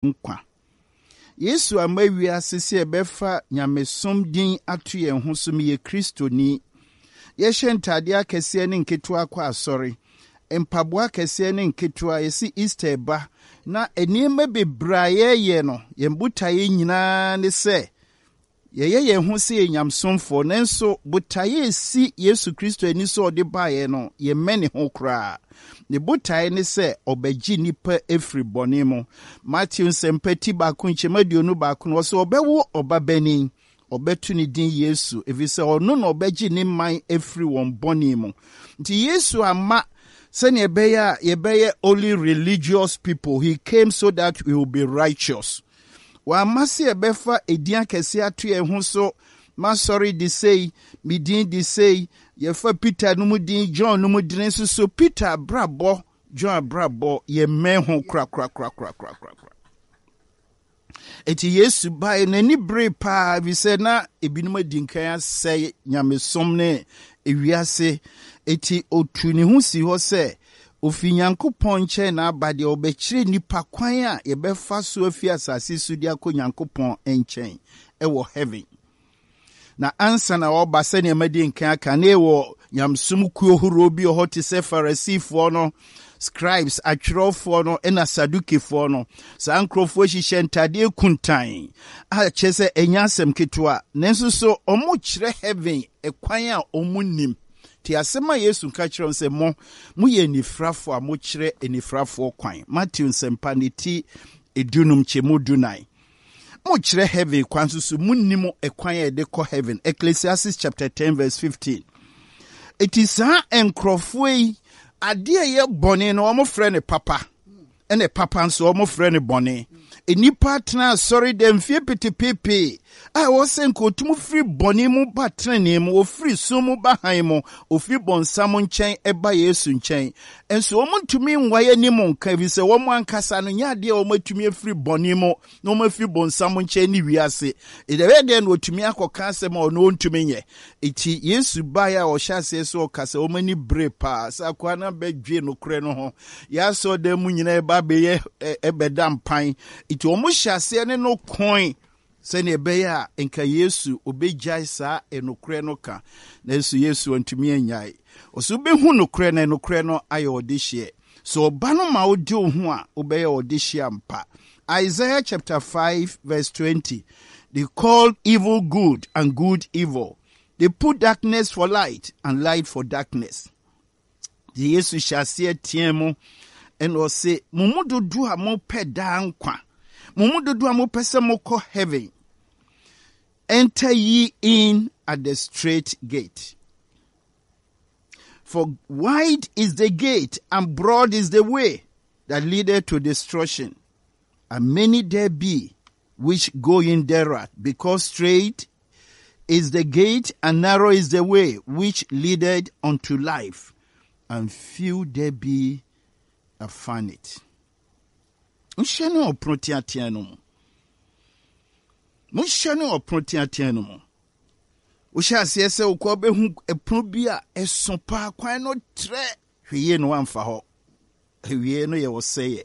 Nkwa. Yesu amma wiase sɛ yɛbɛfa nyamesom din ato yɛn ho so, meyɛ Kristoni. Yɛhyɛ ntadeɛ akɛseɛ ne nketewa kɔ asɔre, mpaboa akɛseɛ ne nketewa, yɛse Easter ba, na nneɛma bebree a yɛyɛ no, yɛn botaeɛ nyinaa ne sɛ Yɛyɛ yɛn ho sɛ yɛyɛ nyamesomfoɔ, nanso botaeɛ a ɛsi Yesu Kristo ani sɛ ɔde baeɛ no, yɛmmɛne ho koraa. Ne botaeɛ ne sɛ ɔbɛgye nnipa afiri bɔne mu. Mateo Nsɛmpa ti baako nkyɛmu 21 no, ɔse ɔbɛwo ɔbabanin, ɔbɛto ne din Yesu, ɛfiri sɛ ɔno na ɔbɛgye ne man afiri wɔn bɔne mu. Nti Yesu amma sɛdeɛ ɛbɛyɛ a yɛbɛyɛ only religious people, he came so that we will be righteous. Wamma sɛ yɛbɛfa edin akɛseɛ ato yɛn ho so, M'asɔre de sei, me din de sei. Yɛfa Peter no mu din, John no mu din nso so. Peter abrabɔ, John abrabɔ, yɛmmɛn ho korakorakorakorakorakora. Enti Yesu bae, n'ani beree paa, efisɛ na ebinom adi nkan asɛe nyamesom ne ewiase. Enti otuu ne ho sii hɔ sɛ Ofi Nyankopɔn nkyɛn na aba deɛ ɔbɛkyerɛ nnipa kwan a yɛbɛfa so afi asase so de akɔ Nyankopɔn nkyɛn wɔ heaven. Na ansa na ɔreba sɛnea madi nkan aka ne wɔ nyamesom kuo horoɔ bi wɔ hɔ te sɛ Farisifoɔ no, scribes, atwerɛfoɔ no, ɛna Sadukifoɔ no. Saa nkurɔfoɔ hyehyɛ ntadeɛ kuntan a kyerɛ sɛ ɛnyɛ asɛm ketewa, nanso so wɔkyerɛ heaven kwan a wɔnnim. Tie asɛm a Yesu ka kyerɛɛ wɔn sɛ, Mo, moyɛ anifirafoɔ a mokyerɛ anifirafoɔ kwan. Mateo Nsɛmpa ne ti dunum nkyɛmu dunan. Mokyerɛ heaven kwan nso so munnim ɛkwan a yɛde kɔ heaven. Ecclesiastes chapter 10 verse 15. Eti saa nkurɔfoɔ yi, adeɛ a ɛyɛ bɔne no wɔfrɛ no papa. ɛna papa nso wɔfrɛ no bɔne. Nnipa atena asɔre dɛm mfie petepeepee a ɛwɔ sɛ nka otum firi bɔne mu ba tenenee mu, ofiri sum mu ba hann mu, ofiri bɔnsam nkyɛn ɛba Yesu nkyɛn. Nso wɔn ntumi nwae anim nka ɛfiri sɛ wɔn ankasa no nyɛ adeɛ a wɔn atumi afiri bɔne mu na wɔn afiri bɔnsam nkyɛn ne wiase. Ɛbɛyɛ dɛn na wɔtumi akɔka asɛm a ɔno ɔntumi nyɛ? Enti Yesu baeɛ a ɔhyɛ aseɛ sɛ ɔkasa, wɔn ani bere paa sɛ akoa no abɛdwe nokorɛ no ho. Yɛn asɔredan mu nyinaa ɛba abɛyɛ ɛbɛda mpan. Enti wɔn hyɛ aseɛ ne no koe sɛdeɛ ɛbɛyɛ a nka Yesu ɔbɛgyae saa nokorɛ no ka. Nanso Yesu antumi annyae. Ɔsɛ wobɛhu nokorɛ na nokorɛ no ayɛ ɔdehyeɛ. Sɛ ɔba no ma wode wo ho a, wobɛyɛ ɔdehyeɛ ampa. Isaiah chapter 5 verse 20. They call evil good and good evil. They put darkness for light and light for darkness. De Yesu hyɛ aseɛ teɛ mu ɛna ɔse, mo mu dodoɔ a mopɛ daa nkwa, mo mu dodoɔ a mopɛ sɛ mokɔ heaven, enter ye in at the straight gate. For wide is the gate and broad is the way that leadeth to destruction, and many there be which go in thereat, because strait is the gate and narrow is the way which leadeth unto life, and few there be that find it. Monhyɛ ne ɔpono teatea no mu. Monhyɛ ne ɔpono teatea no mu. Wohyɛ aseɛ sɛ wokɔ bɛhu ɛpono bi a ɛso paa kwan no trɛ hwɛ yie no wamfa hɔ. Awiei no yɛ ɔsɛeɛ.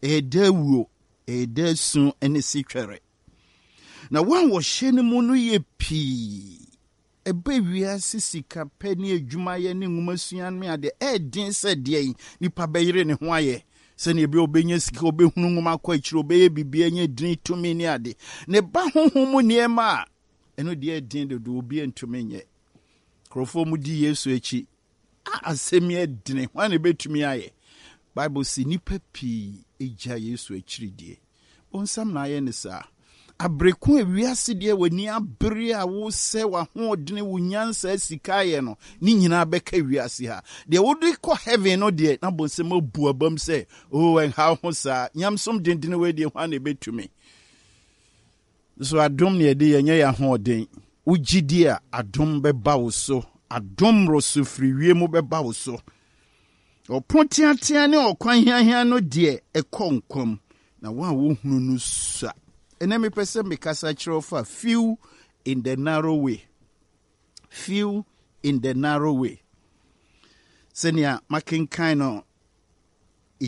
Ɛyɛ daa wuo, ɛyɛ daa su ne setwɛre. Na wɔn a wɔhyɛ no mu no yɛ pii. Ɛba wiase sikapɛ ne adwumayɛ ne nwomasua ne adeɛ, ɛyɛ den sɛ deɛn nipa bɛyere ne ho ayɛ sɛnea ɛbɛyɛ ɔbɛnya sika, ɔbɛhunu nwoma akɔ akyire, ɔbɛyɛ biribi anya dini, tumi ne ade. Ne ba honhom mu nneɛma a, ɛno deɛ ɛyɛ den dodo, obi ntumi nyɛ. Nkurɔfoɔ mu di Yesu akyi. A asɛm yi ɛdene, hwan na ɛbɛtumi ayɛ? Bible se nnipa pii gya Yesu akyiri die. Bonsam na ayɛ ne saa. Abere ko a wiase deɛ w'ani abere a wosɛ w'ahoɔdene, wo nyansa, sika ayɛ no, ne nyinaa bɛka wiase ha. Deɛ wode kɔ heaven no deɛ, na bonsam abu abam sɛ, oh, ɛnha ho saa. Nyamesom dendene wei deɛ, hwan na ɛbɛtumi? So adom na yɛde yɛ, ɛnyɛ yɛn ahoɔden. Wogye di a, adom bɛba wo so. Adom mmoroso firi wiem bɛba wo so. Ɔpono teatea ne ɔkwan hiahia no deɛ, ɛkɔ nkwa mu, na wɔn a wɔhunu no sua. Ɛnɛ mepɛ sɛ mekasa kyerɛ wo fa few in the narrow way. Few in the narrow way. Sɛnea makenkan no.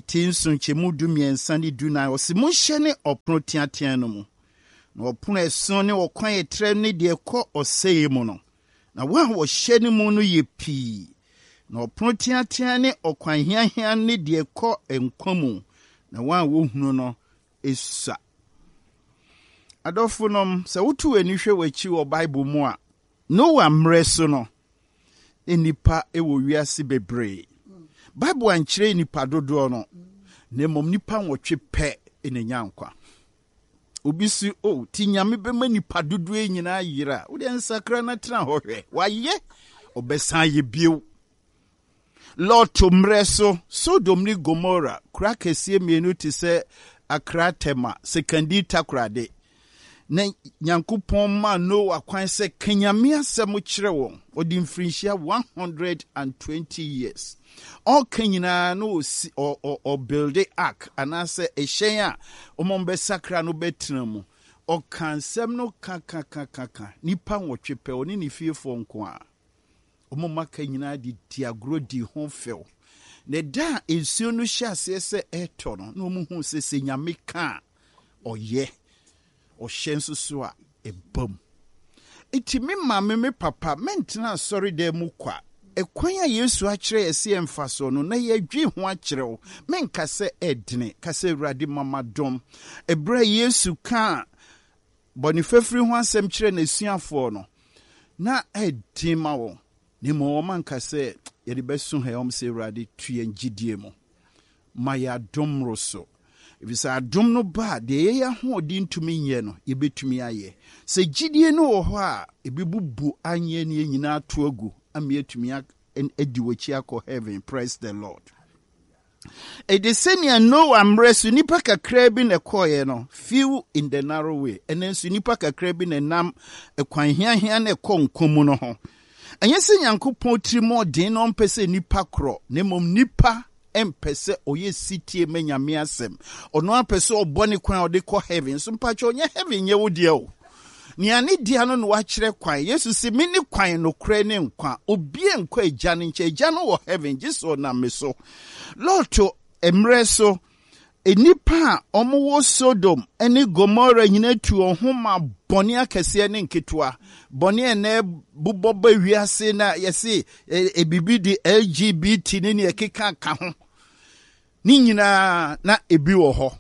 Ti nson nkyɛmu 13 ne 14, ɔse, Monhyɛne ɔpono teatea no mu, na ɔpono a ɛso ne ɔkwan a ɛtrɛ ne deɛ ɛkɔ ɔsɛeɛ mu no, na wɔn a wɔhyɛne mu no yɛ pii. Na ɔpono teatea ne ɔkwan hiahia ne deɛ ɛkɔ nkwa mu, na wɔn a wɔhunu no sua. Adɔfonom, sɛ woto w'ani hwɛ w'akyi wɔ Bible mu a, Noa mmerɛ so no, na nnipa wɔ wiase bebree. Bible ankyerɛ nnipa dodoɔ no, na mmom nnipa nwɔtwe pɛ na ɛnya nkwa. Obi si, o, oh, ti Nyame bɛma nnipa dodoɔ yi nyinaa yera. Wodeɛ nsakra na tena hɔ hwɛ. Wayɛ, ɔbɛsan ayɛ bio. Lot mmerɛ so, Sodom ne Gomora, kuro akɛseɛ mmienu te sɛ Accra Tema, Sekondi Takoradi. Na Nyankopɔn maa Noa kwan sɛ ka Nyame asɛm kyerɛ wɔn. Ɔde mfirinhyia 120 years. Ɔka nyinaa na ɔsi ɔ ɔ ɔbuilde ark anaasɛ ɛhyɛn a wɔn bɛsakra no bɛtena mu. Ɔka nsɛm no ka ka ka ka ka. Nnipa nwɔtwe pɛ, ɔne ne fiefoɔ nko ara. Wɔn mma ka nyinaa de dii agorɔ dii ho fɛw. Na da a nsuo no hyɛɛ aseɛ sɛ ɛretɔ no, na wɔhuu sɛ sɛ Nyame ka a, ɔyɛ. Ɔhyɛ nso so a, ɛba mu. Enti me maame, me papa, mɛntena asɔredan mu kwa. Ɛkwan a Yesu akyerɛ yɛ sɛ yɛmfa soɔ no, na yɛdwen ho akyerɛ wo. Menka sɛ ɛdene, ka sɛ Awurade ma m'adom. Ɛberɛ a Yesu kaa bɔne fafiri ho asɛm kyerɛɛ n'asuafoɔ no, na ɛyɛ den ma wɔn, na mmom wɔanka sɛ, Yɛde bɛso ha yi, wɔn sɛ, Awurade, tu yɛn gyidie mu. Ma yɛn adom mmoroso. Ɛfiri sɛ adom no ba a, deɛ yɛn ahoɔden ntumi nyɛ no, yɛbɛtumi ayɛ. Sɛ gyidie no wɔ hɔ a, ɛbɛbubu anyɛ ne yɛn nyinaa ato agu ama yɛatumi adi w'akyi akɔ heaven. Praise the Lord. Ɛde sɛnea Noa mmerɛ so nnipa kakraa bi na ɛkɔeɛ no, few in the narrow way, ɛnɛ nso nnipa kakraa bi na ɛnam ɛkwan hiahia na ɛkɔ nkwa mu no ho. Ɛnyɛ sɛ Nyankopɔn tirim ɔden na ɔmpɛ sɛ nnipa korɔ, na mmom nnipa mpɛ sɛ ɔyɛ sitie ma Nyame asɛm. Ɔno ara pɛ sɛ ɔbɔ ne kwan a ɔde kɔ heaven. So mpakyɛ ɔnyɛ heaven nyɛ wo deɛ o. Nea ne dea no na wakyerɛ kwan. Yesu se, Mene kwan, nokorɛ ne nkwa. Obia nkɔ Agya no nkyɛn. Agya no wɔ heaven, gye sɛ ɔnam me so. Lot mmerɛ so, nnipa a wɔwɔ Sodom ne Gomora nyina tu wɔn ho ma bɔne akɛseɛ ne nketewa. Bɔne a ɛnɛ bobɔ ba wiase na yɛse ebibi de LGBT ne nea ɛkeka ka ho. Ne nyinaa na ebi wɔ hɔ.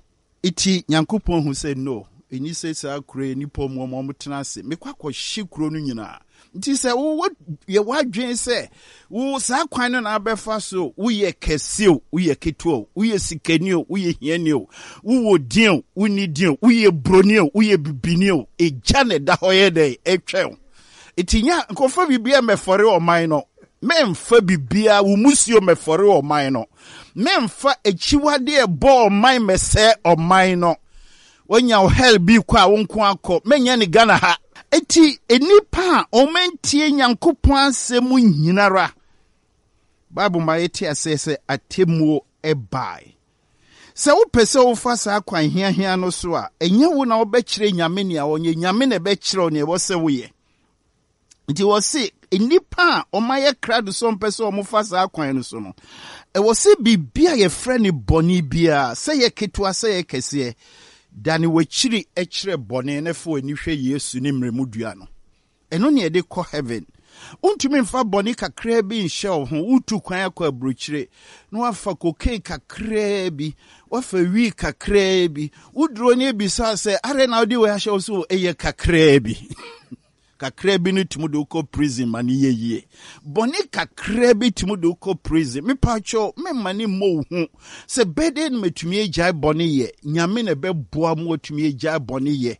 Ntsi Nyankopɔn hu sɛ no, nnyi sɛ saa kuro yi nnipa ɔmo ɔmo ɔmo tena ase, mekɔ akɔhye kuro no nyinaa. Nti sɛ wo yɛ w'adwene sɛ wo saa kwan no na abɛfa so, woyɛ kɛse o, woyɛ ketewa o, woyɛ sikani o, woyɛ hiani o, wowɔ din o, wonni din o, woyɛ broni o, woyɛ bibini o, egya na ɛda hɔ yɛ dɛn ɛtwɛn wo. Nti nya nkɔfa biribiara mmɛfɔre ɔman no, mɛmfa biribiara, wo musuo mmɛfɔre ɔman no. Memfa akyiwade a ɛbɔ ɔman mmɛsɛe ɔman no. Wanya wo hell bi kɔ a wo nko akɔ. Menyɛ ne Ghana ha. Enti nnipa a wɔantie Nyankopɔn asɛm nyinara, Bible ma yɛte aseɛ sɛ atemmuo bae. Sɛ wopɛ sɛ wofa saa kwan hiahia no so a, ɛnyɛ wo na wobɛkyerɛ Nyame nea ɔnyɛ, Nyame na ɛbɛkyerɛ wo nea ɛwɔ sɛ woyɛ. Nti wɔse nnipa a wɔayɛ krado sɛ wɔmpɛ sɛ wɔfa saa kwan no so no, ɛwɔ sɛ biribi a yɛfrɛ no bɔne biara, sɛ yɛ ketewa sɛ yɛ kɛseɛ, dane w'akyiri kyerɛ bɔne na fa w'ani hwɛ Yesu ne mmerɛmu dua no. Ɛno ne yɛde kɔ heaven. Wontumi mfa bɔne kakraa bi nhyɛ wo ho, wotu kwan akɔ aburokyire na wafa cocaine kakraa bi, wafa wii kakraa bi, woduro ne ebisa sɛ, adɛn na wode wei ahyɛ wo so? Ɛyɛ kakraa bi. Kakra bi no tumi de wo kɔ prison ma no yɛ yie. Bɔne kakra bi tumi de wo kɔ prison. Mepakyɛw, memma ne mmɔ wo hu sɛ bɛdɛn na matumi agyae bɔne yɛ. Nyame na ɛbɛboa ma watumi agyae bɔne yɛ.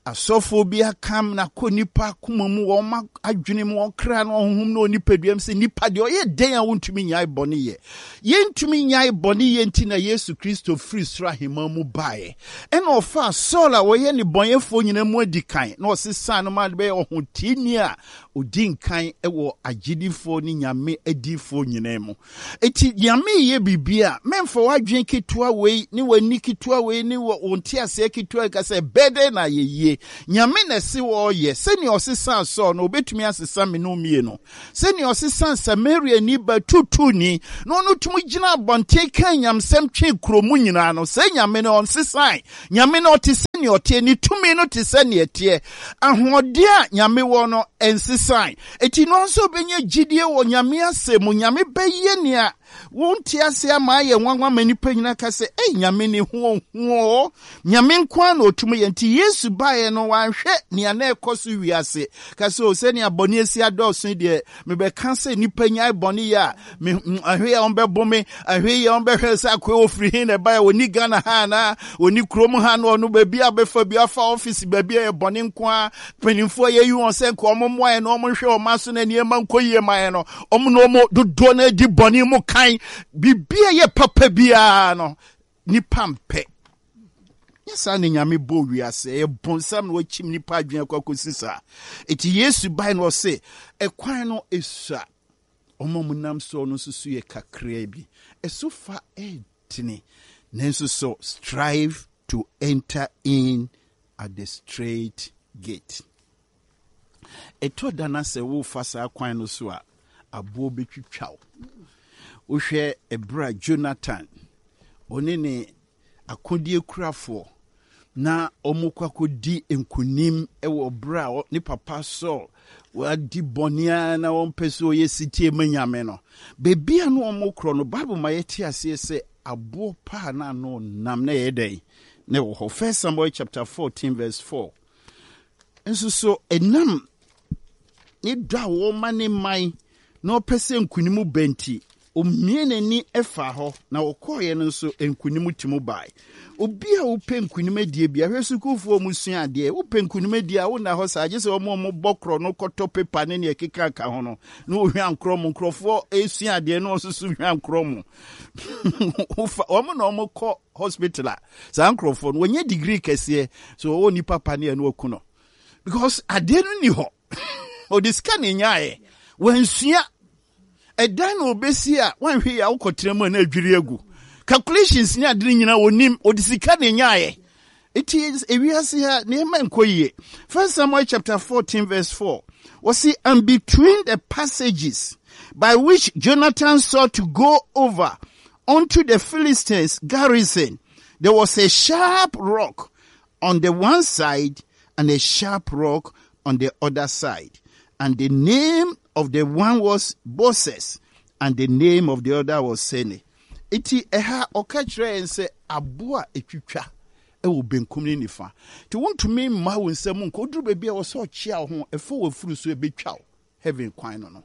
Asɔfoɔ bi akam na akɔ nipa akoma mu, wɔn adwene mu, wɔn kra no, wɔn honhom ne wɔn nipadua mu sɛ nipa deɛ ɔyɛ dɛn a wontumi nyae bɔne yɛ. Yɛntumi nyae bɔne yɛ nti na Yesu Kristo firi soro ahemman mu baeɛ. Ɛnna ɔfaa Saul a ɔyɛ nnebɔneyɛfoɔ nyinaa mu adikan, na ɔsesaa no maa no bɛyɛɛ ɔhoteeni a Ɔdi nkan wɔ agyedifoɔ ne Nyame adiyifoɔ nyinaa mu. Enti Nyame reyɛ biribi a, mɛmfa w'adwene ketewa wei ne w'ani ketewa wei ne wo nteaseɛ ketewa yi ka sɛ ɛbɛyɛ dɛn na ayɛ yie. Nyame na ɛse ɔreyɛ. Sɛnea ɔsesaa Saul no, ɔbɛtumi asesa me ne wo mmienu. Sɛnea ɔsesaa Samariani ba tuutuuni na ɔno tumi gyina abɔnten kaa nyamsɛm twee kuro mu nyinaa no, saa Nyame no ɔnsesae. Nyame no ɔte sɛ nea ɔteɛ, ne tumi no te sɛ nea ɛteɛ. Ahoɔden a Nyame wɔ no, ɛnsesae. Enti no ara sɛ wobɛnya gyidie wɔ Nyame asɛm mu, Nyame bɛyɛ nea wonte ase ama ayɛ nwanwa ma nnipa nyinaa ka sɛ, Ei, Nyame ne ho ɔhu oo. Nyame nko ara na ɔtumi yɛ. Nti Yesu baeɛ no, wanhwɛ nea na ɛkɔ so wiase. Ka sɛ, o, sɛnea bɔne asi adɔɔso yi deɛ, mebɛka sɛ nnipa nyae bɔne yɛ a, me ahwɛ yɛ wɔbɛbo me, ahwɛ yɛ wɔbɛhwɛ sɛ akoe ofiri he na ɛbaeɛ, ɔni Ghana ha anaa, ɔni kurom ha na ɔno baabi a bɛfa bi afa ɔfisi baabi a yɛ bɔne nko ara, mpanimfoɔ a yɛyi wɔn sɛ nka wɔn mmoa yɛn na wɔn nhwɛ wɔn aso na nneɛma nkɔ yie ma yɛn no, wɔn na wɔn dodoɔ no adi bɔne mu kan, biribi a ɛyɛ papa biara no, nipa mpɛ. Nyɛ saa na Nyame bɔɔ wiase. Ɛyɛ bonsam na wakyim nipa adwene akɔ akɔsi saa. Eti Yesu bae na ɔse, ɛkwan no esua. Wɔn a wɔnam soɔ no nso so yɛ kakraa bi. Ɛso fa ɛdene, nanso so strive to enter in at the straight gate. Ɛtɔ da na sɛ worefa saa kwan no so a, aboɔ bɛtwitwa wo. Wohwɛ ɛberɛ a Jonathan, ɔne ne akodeɛ kurafoɔ na wɔkɔ akɔdi nkonim wɔ berɛ a ne papa Saul wadi bɔne ara na wɔmpɛ sɛ ɔyɛ setie ma Nyame no. Baabi a na wɔkorɔ no, Bible ma yɛte aseɛ sɛ aboɔ paa na ano nam na ɛyɛ dɛn? Na ɛwɔ hɔ. First Samuel chapter 14 verse 4. Nso so ɛnam ne dɔ a wɔma ne man na ɔpɛ sɛ nkonim ba nti, omie n'ani faa hɔ, na ɔkɔeɛ no nso nkonim ti mu bae. Obi a wopɛ nkonim adie bi, ahwɛ sukuufoɔ a wɔsua adeɛ, wopɛ nkonim adie a wonna hɔ saa, gye sɛ wɔn a wɔbɔ korɔ no kɔtɔ pepa ne nea ɛkeka ka ho no, na wɔhwa nkorɔ mo, nkurɔfoɔ resua adeɛ na wɔn nso so hwa nkorɔ mo. Wɔn na wɔkɔ hospital a, saa nkurɔfoɔ no, wɔnyɛ degree kɛseɛ, so wɔwɔ nipa pa ne ɛno aku no. Because adeɛ no ni hɔ. Ɔde sika na ɛnyaeɛ. Wansua. Ɛdan na ɔbɛsi a wanhwɛ yie a wokɔtena mu a na adwiri agu. Calculations ne ade no nyinaa ɔnim. Ɔde sika na ɛnyaeɛ. Eti ewiase ha nneɛma nkɔ yie. First Samuel chapter 14 verse 4. Wɔsi and between the passages by which Jonathan sought to go over unto the Philistines garrison, there was a sharp rock on the one side and a sharp rock on the other side. And the name of the one was Boses, and the name of the other was Sene. Eti ɛha ɔka kyerɛ yɛn sɛ aboa a etwitwa wɔ benkum ne nifa. Nti wontumi mma wo nsam nkɔ. Woduru baabi a ɛwɔ sɛ ɔkyea wo ho, ɛfa w'afuru so ebetwa wo. Heaven kwan no no.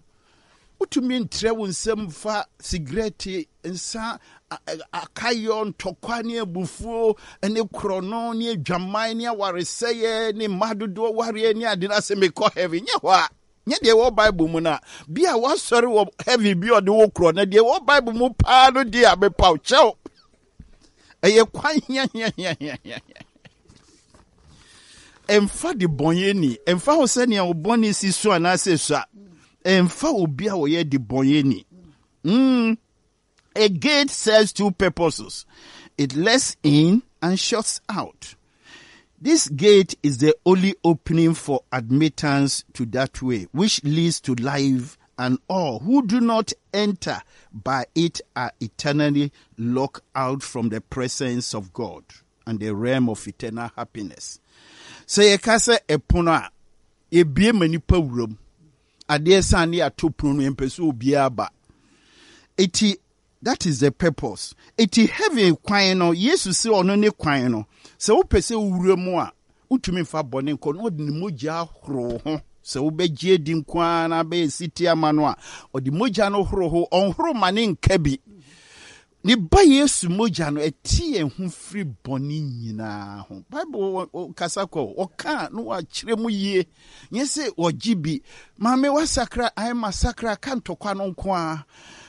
Wotumi ntrɛ wo nsam mfa sigaret, nsa, akayɔ, ntɔkwa ne abufuo ne korɔno ne adwaman ne awaresɛeɛ ne mma dodoɔ wareɛ ne ade no ase mekɔ heaven. Nyɛ hɔ a. Nyɛ deɛ ɛwɔ Bible mu no a. Bi a wasɔre wɔ heaven bi ɔde wo korɔ na deɛ ɛwɔ Bible mu paa no deɛ a mepaw kyɛw. Ɛyɛ kwan hiahiahiahia. Ɛmfa de bɔnyɛni, ɛmfa ho sɛnea wo bɔne si so anaasɛ sua, ɛmfa obi a ɔyɛ de bɔnyɛni. Mm. A gate serves two purposes. It lets in and shuts out. This gate is the only opening for admittance to that way, which leads to life and all who do not enter by it are eternally locked out from the presence of God and the realm of eternal happiness. Sɛ yɛka sɛ ɛpono a, yɛbie ma nipa wuram. Adeɛ san ne yɛato pono no, yɛmpɛ sɛ obiara ba. Eti That is the purpose. Eti heaven kwan no, Yesu se ɔno ne kwan no. Sɛ wopɛ sɛ wowura mu a, wontumi mfa bɔne nkɔ na ɔde ne mogya ahoro wo ho. Sɛ wobɛgye adi nko ara na abɛyɛ setie ama no a, ɔde mogya no horo ho, ɔnhoro ma ne nka bi. Ne ba Yesu mogya no, ɛte yɛn ho firi bɔne nyinaa ho. Bible kasa kɔ, ɔka na wakyerɛ mu yie. Nyɛ sɛ wɔgye bi. Maame wasakra, ayɛ masakra, ka ntɔkwa no nko ara.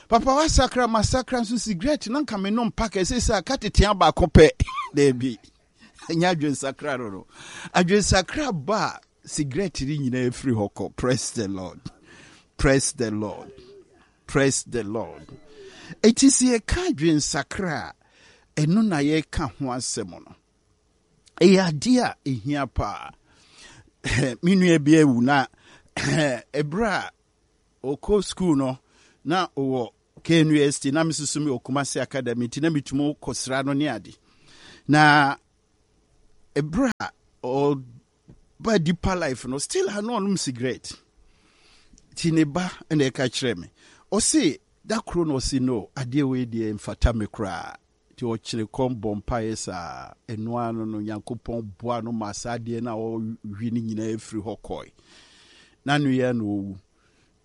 Papa wasakra, masakra nso sigaret na nka menom pack ɛsɛ sɛ aka tetea baako pɛ. Daabi. Ɛnyɛ adwensakra no no. Adwensakra ba a, Sigaret no nyinaa firi hɔ kɔ. Praise the Lord. Praise the Lord. Praise the Lord. Eti sɛ yɛka adwensakra a, ɛno na yɛka ho asɛm no. Ɛyɛ adeɛ a ɛhia paa. Me nua bi awu na ɛberɛ a ɔkɔ sukuu no na ɔwɔ KNUST na me nso mewɔ Kumasi Academy nti na metumi kɔsra no ne ade. Na ɛberɛ a ɔba Deeper Life no still a na ɔnom cigarette. Nti ne ba na ɛka kyerɛ me. Ɔse da koro na ɔse no adeɛ wei deɛ mfata me koraa. Nti ɔkyere kɔm bɔ mpaeɛ saa, ɛno ara no no Nyankopɔn boa no maa saa adeɛ no a ɔwe no nyinaa firi hɔ kɔe. N'ano yi ara na ɔwu.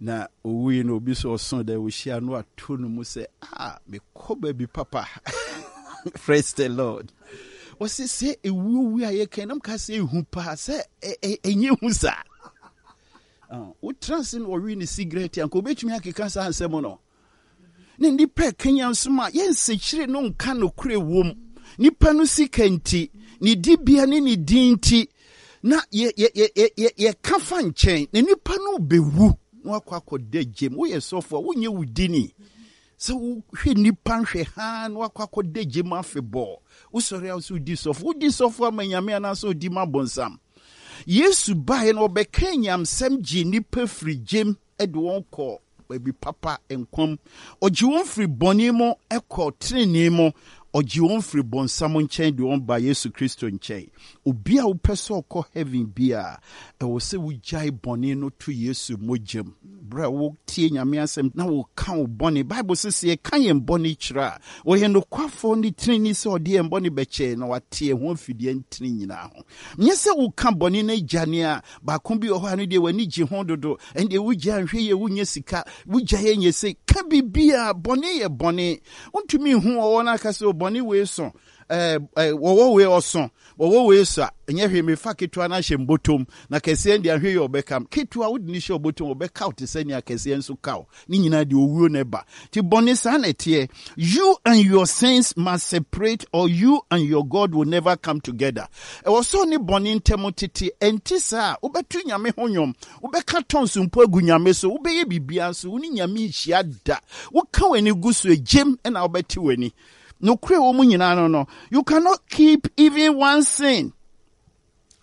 Na ɔwui no obi sɛ ɔso dɛ ɔhyia no ato no mu sɛ, ah, mekɔ baabi papa. Praise the Lord. Ɔse sɛ ɛwuo wu a yɛka nam ka sɛ ɛhu paa sɛ ɛnyɛ hu saa. Wotra ase na ɔwe ne sigaret anka ɔbɛtumi akeka saa nsɛm no. Ne nnipa ɛkanyan nso ma yɛnsekyere no nka nokorɛ wom. Nipa no sika nti, ne dibea ne ne din nti, na yɛka fa nkyɛn, na nipa no bɛwu na wakɔ akɔda gyam. Woyɛ sɔfo a, wonyɛ wo dini. Sɛ wohwɛ nipa nhwɛ haa na wakɔ akɔda gyam afebɔɔ. Wosɔre a wo sɛ wodi sɔfo. Wodi sɔfo ama Nyame anaasɛ wodi ma bonsam. Yesu baeɛ no ɔbɛkaa nyamsɛm gyee nnipa firi gyam de wɔn kɔɔ baabi papa, nkwa mu. Ɔgye wɔn firi bɔne mu kɔ tenenee mu. Ɔgye wɔn firi bonsam nkyɛn de wɔn ba Yesu Kristo nkyɛn. Obi a wopɛ sɛ ɔkɔ heaven biara, ɛwɔ sɛ wogyae bɔne no to Yesu mogya mu. Berɛ a wotie Nyame asɛm na woka wo bɔne, Bible se sɛ yɛka yɛn bɔne kyerɛ a, ɔyɛ nokwafoɔ ne tenenee sɛ ɔde yɛn bɔne bɛkyɛ yɛn na wate yɛn ho afi deɛ ɛntene nyinaa ho. Nyɛ sɛ woka bɔne no agya nea baako bi wɔ hɔ a no deɛ w'ani gye ho dodo, ɛndeɛ wogya nhwɛ yie wonyɛ sika, wogya yɛ nyɛ sei, ka biribiara, bɔne yɛ bɔne. Wontumi nhu ɔwɔ no aka sɛ o bɔne wei so, ɛɛ wɔwɔ wei ɔso, wɔwɔ wei so a, ɛnyɛ hwee mefa ketewa no ahyɛ mbotom, na kɛseɛ deɛ ahwɛ yie ɔbɛka m. Ketewa wode no hyɛ ɔbotom ɔbɛka wo te sɛ nea kɛseɛ nso ka wo. Ne nyinaa deɛ owuo na ɛba. Nti bɔne saa na ɛteɛ. You and your sins must separate or you and your God will never come together. Ɛwɔ sɛ ɔne bɔne ntam tete. Ɛnte saa a, wobɛto Nyame ho nnwom, wobɛka tons mpo agu Nyame so, wobɛyɛ biribiara nso wo ne Nyame nhyia da. Woka w'ani gu so a, gyem na wobɛte w'ani. Nokorɛ wɔ mu nyinaa no no, you cannot keep even one sin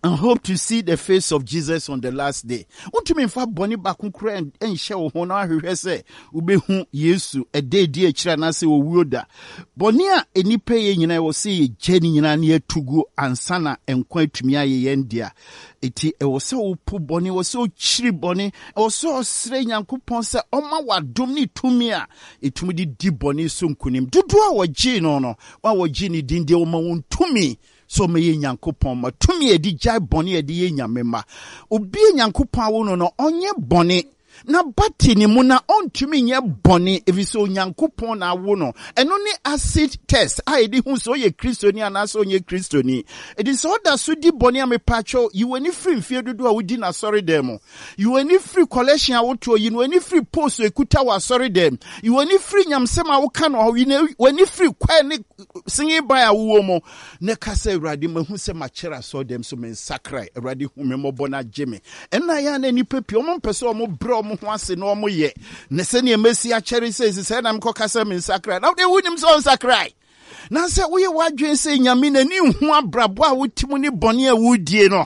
and hope to see the face of Jesus on the last day. Wontumi mfa bɔne baako koraa nhyɛ wo ho na ahwehwɛ sɛ wobɛhu Yesu ɛda edi akyire anaasɛ owuo da. Bɔne a nnipa yɛ nyinaa ɛwɔ sɛ yɛgya ne nyinaa na yɛatu gu ansa na nkwa atumi ayɛ yɛn dea. Eti ɛwɔ sɛ wopo bɔne, ɛwɔ sɛ wokyiri bɔne, ɛwɔ sɛ ɔsrɛ Nyankopɔn sɛ ɔma w'adom ne tumi a ɛtumi de di bɔne so nkonim. Dodoɔ a wɔgyee no no, wɔn a wɔgyee ne din deɛ wɔma wɔn tumi sɛ wɔyɛ Nyankopɔn mma, tumi a yɛde gyae bɔne a yɛde yɛ Nyame mma. Obi a Nyankopɔn awo no no, ɔnyɛ bɔne. N'aba te ne mu na ɔntumi nyɛ bɔne, efisɛ Onyankopɔn na awo no. Ɛno ne acid test a yɛde hu sɛ ɔyɛ Kristoni anaasɛ ɔnyɛ Kristoni. Enti sɛ ɔda so di bɔne a, mepaakyɛw, yi w'ani firi mfeɛ dodoɔ a wodi no asɔredan mu. Yi w'ani firi collection a wotoɔ, yi w'ani firi post a ɛkuta wɔ asɔredan mu, yi w'ani firi nyamsɛm a woka no hɔ, yi w'ani firi choir ne singing band a wowɔ mu, na ka sɛ, Awurade, mahu sɛ makyɛre asɔredan so, mensakrae. Awurade, hu me mmɔbɔ na gye me. Ɛnna yɛ a na nnipa pii, wɔn mpɛ sɛ wɔn brɛ wɔn ho ase na wɔn yɛ. Na sɛnea masi akyɛre sɛ esi sɛ na mekɔka sɛ mensakrae. Na wode wonim sɛ ɔnsakrae. Na sɛ woyɛ w'adwene sɛ Nyame n'ani nhu abrabɔ a wote mu ne bɔne a wodie no,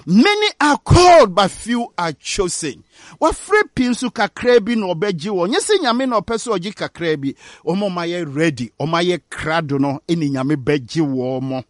Many are called but few are chosen. Wafrɛ pii nso kakraa bi na ɔbɛgye wɔn. Nyɛ sɛ Nyame na ɔpɛ sɛ ɔgye kakraa bi. Wɔn a wɔayɛ ready, wɔn ayɛ krado no ne Nyame bɛgye wɔn.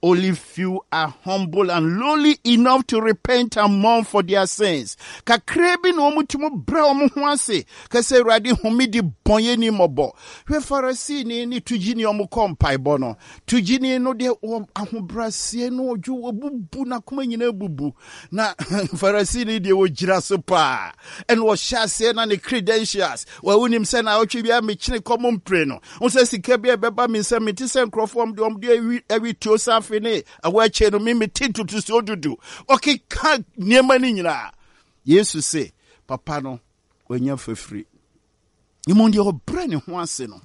Only few are humble and lowly enough to repent and mourn for their sins. Kakraa bi na wɔn tumi brɛ wɔn ho ase ka sɛ Awurade hu me de bɔnyɛni mmɔbɔ. Hwɛ Farisini ne togyini a wɔkɔ mpaebɔ no. Togyeni no deɛ wɔ ahobrɛaseɛ no ɔdwo wabubu n'akoma nyinaa bubu na Farisini deɛ wɔgyina so paa ɛna ɔhyɛ aseɛ na ne credentials wɔwonim sɛ na ɔtwe biara mekyene kɔm mpire no wo sɛ sika bi a ɛbɛba me nsam mete sɛ nkurɔfoɔ ɔm deɛ ɔm deɛ awi awi tuo safe ne ɛwɔ akyɛ no me mete ntotosoɔ dudu ɔkeka nneɛma no nyinaa Yesu se papa no wanya fafiri. Mmom deɛ ɔbrɛ ne ho ase no,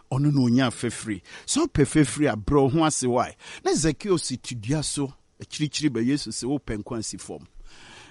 ɔno na ɔnya fafiri. Sɛ wopɛ fafiri a, brɛ wo ho ase. Why? Na Zakeo si te dua so akyirikyiri bɛ Yesu se, wopɛ nkwa si fam.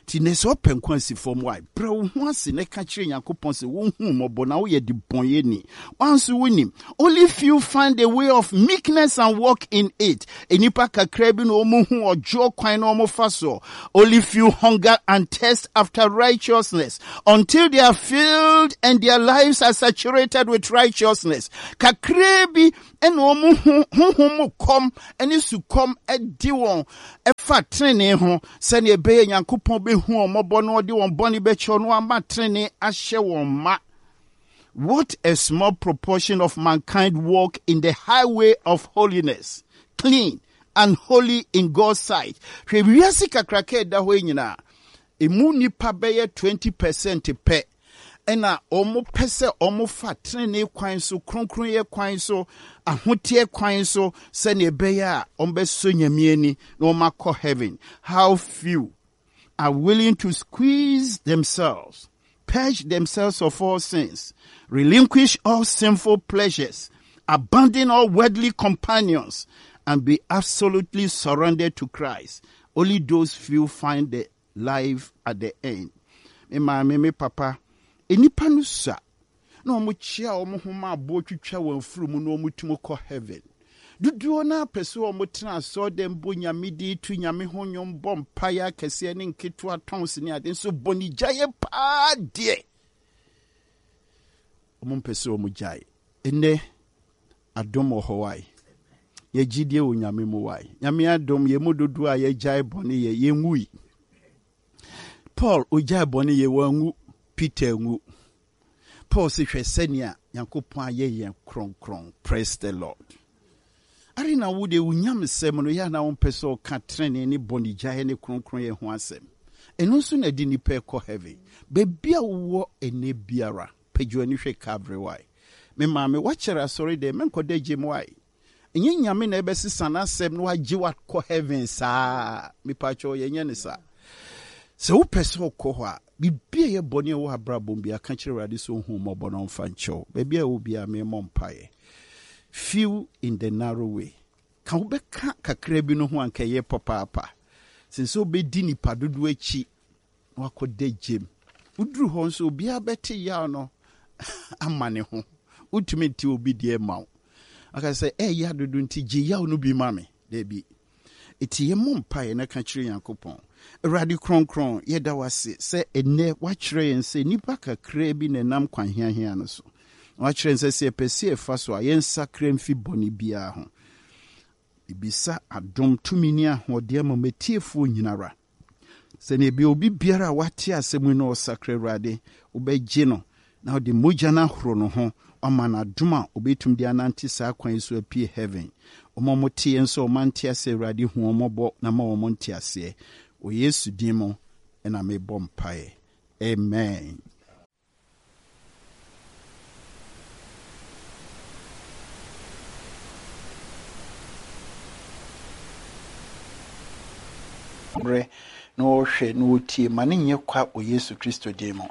Nti nnɛ sɛ ɔpɛ nkwa si fam wae, brɛ wo ho ase na ka kyerɛ Nyankopɔn sɛ wonhu wo mmɔbɔ na woyɛ debɔnyɛni. Woanso wonim. Only few find the way of meekness and walk in it. Nnipa kakra bi na wɔn hu ɔdwoɔ kwan na wɔn fa soɔ. Only few hunger and thirst after righteousness until they are filled and their lives are saturated with righteousness. Kakra bi na wɔn ho honhom mu kɔm ne sukɔm de wɔn fa trenee ho, sɛnea ɛbɛyɛ Nyankopɔn bɛhu wɔn mmɔbɔ na ɔde wɔn bɔne bɛkyɛ wɔn na wama trenee ahyɛ wɔn ma. What a small proportion of mankind walk in the highway of holiness, clean and holy in God's sight. Hwɛ wiase kakraka ɛda hɔ yi nyinaa, emu nnipa bɛyɛ 20 percent pɛ ɛna wɔpɛ sɛ wɔfa trenee kwan so, kronkronyɛ kwan so, ahoteɛ kwan so, sɛnea ɛbɛyɛ a wɔbɛsɔ Nyame ani na wɔakɔ heaven. How few are willing to squeeze themselves, purge themselves of all sins, relinquish all sinful pleasures, abandon all worldly companions, and be absolutely surrendered to Christ. Only those few find the life at the end. Me maame, me papa, nnipa no sua na wɔn kyea wɔn ho ma aboɔ twitwa wɔn afuru mu na wɔn tumi kɔ heaven. Dodoɔ no ara pɛ sɛ wɔn tena asɔɔdɛm bɔ nyame din, to nyame ho nnwom, bɔ mpaeɛ akɛseɛ ne nketewa, tɔns ne ade, nso bɔne gyaeɛ paa deɛ wɔn mpɛ sɛ wɔn gyae. Nnɛ Adom wɔ hɔ wai. Yɛ gyidie wɔ Nyame mu wai. Nyame adom yɛ mu dodoɔ a yɛgyae bɔne yɛ, yɛnwui. Paul ogyae bɔne yɛ, wanwu. Peter anwu. Paul se hwɛ sɛnea Nyankopɔn ayɛ yɛn kronkron. Praise the Lord. Are na wo deɛ wo nyamesɛm no yɛ a na wompɛ sɛ ɔka trenee ne bɔnegyaeɛ ne kronkronyɛ ho asɛm. Ɛno nso na ɛde nnipa ɛkɔ heaven. Baabi a wowɔ ɛnnɛ biara. Pagya w'ani hwɛ Calvary wai. Me maame wakyɛre asɔre dɛm mɛnkɔ da gyem wai. Ɛnyɛ Nyame na ɛbɛsesa n'asɛm na wagye wo akɔ heaven saa mepakyɛw yɛnyɛ no saa. Sɛ wopɛ sɛ wokɔ hɔ a biribi a ɛyɛ bɔne a ɛwɔ abrabɔ mu biara ka kyerɛ Awurade sɛ ɔnhu wo mmɔbɔ na ɔmfa nkyɛ wo. Baabi a ɛwɔ biara memmɔ mpaeɛ. Few in the narrow way. Ka wobɛka kakra bi no ho anka ɛyɛ papaapa sen sɛ wobɛdi nipa dodoɔ akyi na wakɔda gyam. Woduru hɔ nso, obiara bɛte yaw no ama ne ho. Wontumi nte obi deɛ mma wo. Aka sɛ, ɛyɛ dodo nti gye yaw no bi ma me. Dabi. Eti yɛmmɔ mpaeɛ na ka kyerɛ Nyankopɔn. Awurade Kronkron, yɛda wo ase sɛ ɛnnɛ woakyerɛ yɛn sɛ nnipa kakraa bi na ɛnam kwan hiahia no so. Na woakyerɛ yɛn sɛ sɛ yɛpɛ sɛ yɛfa so a, yɛnsakra mfi bɔne biara ho. Mebisa adom, tumi ne ahoɔden ama m'atiefoɔ nyinara. Sɛnea ɛbɛyɛ obi biara a wate asɛm yi na ɔsakra Awurade, wobɛgye no na wode mogya no ahoro no ho, wama no adom a obetumi de anante saa kwan yi so apue heaven. Wɔn a wɔte yɛn nso a wɔante aseɛ Awurade hu wɔn mmɔbɔ na ma wɔn nteaseɛ. Wɔ Yesu din mu na mebɔ mpaeɛ. Amen. Berɛ na ɔrehwɛ na ɔretie, ma no nyɛ kwa wɔ Yesu Kristo din mu.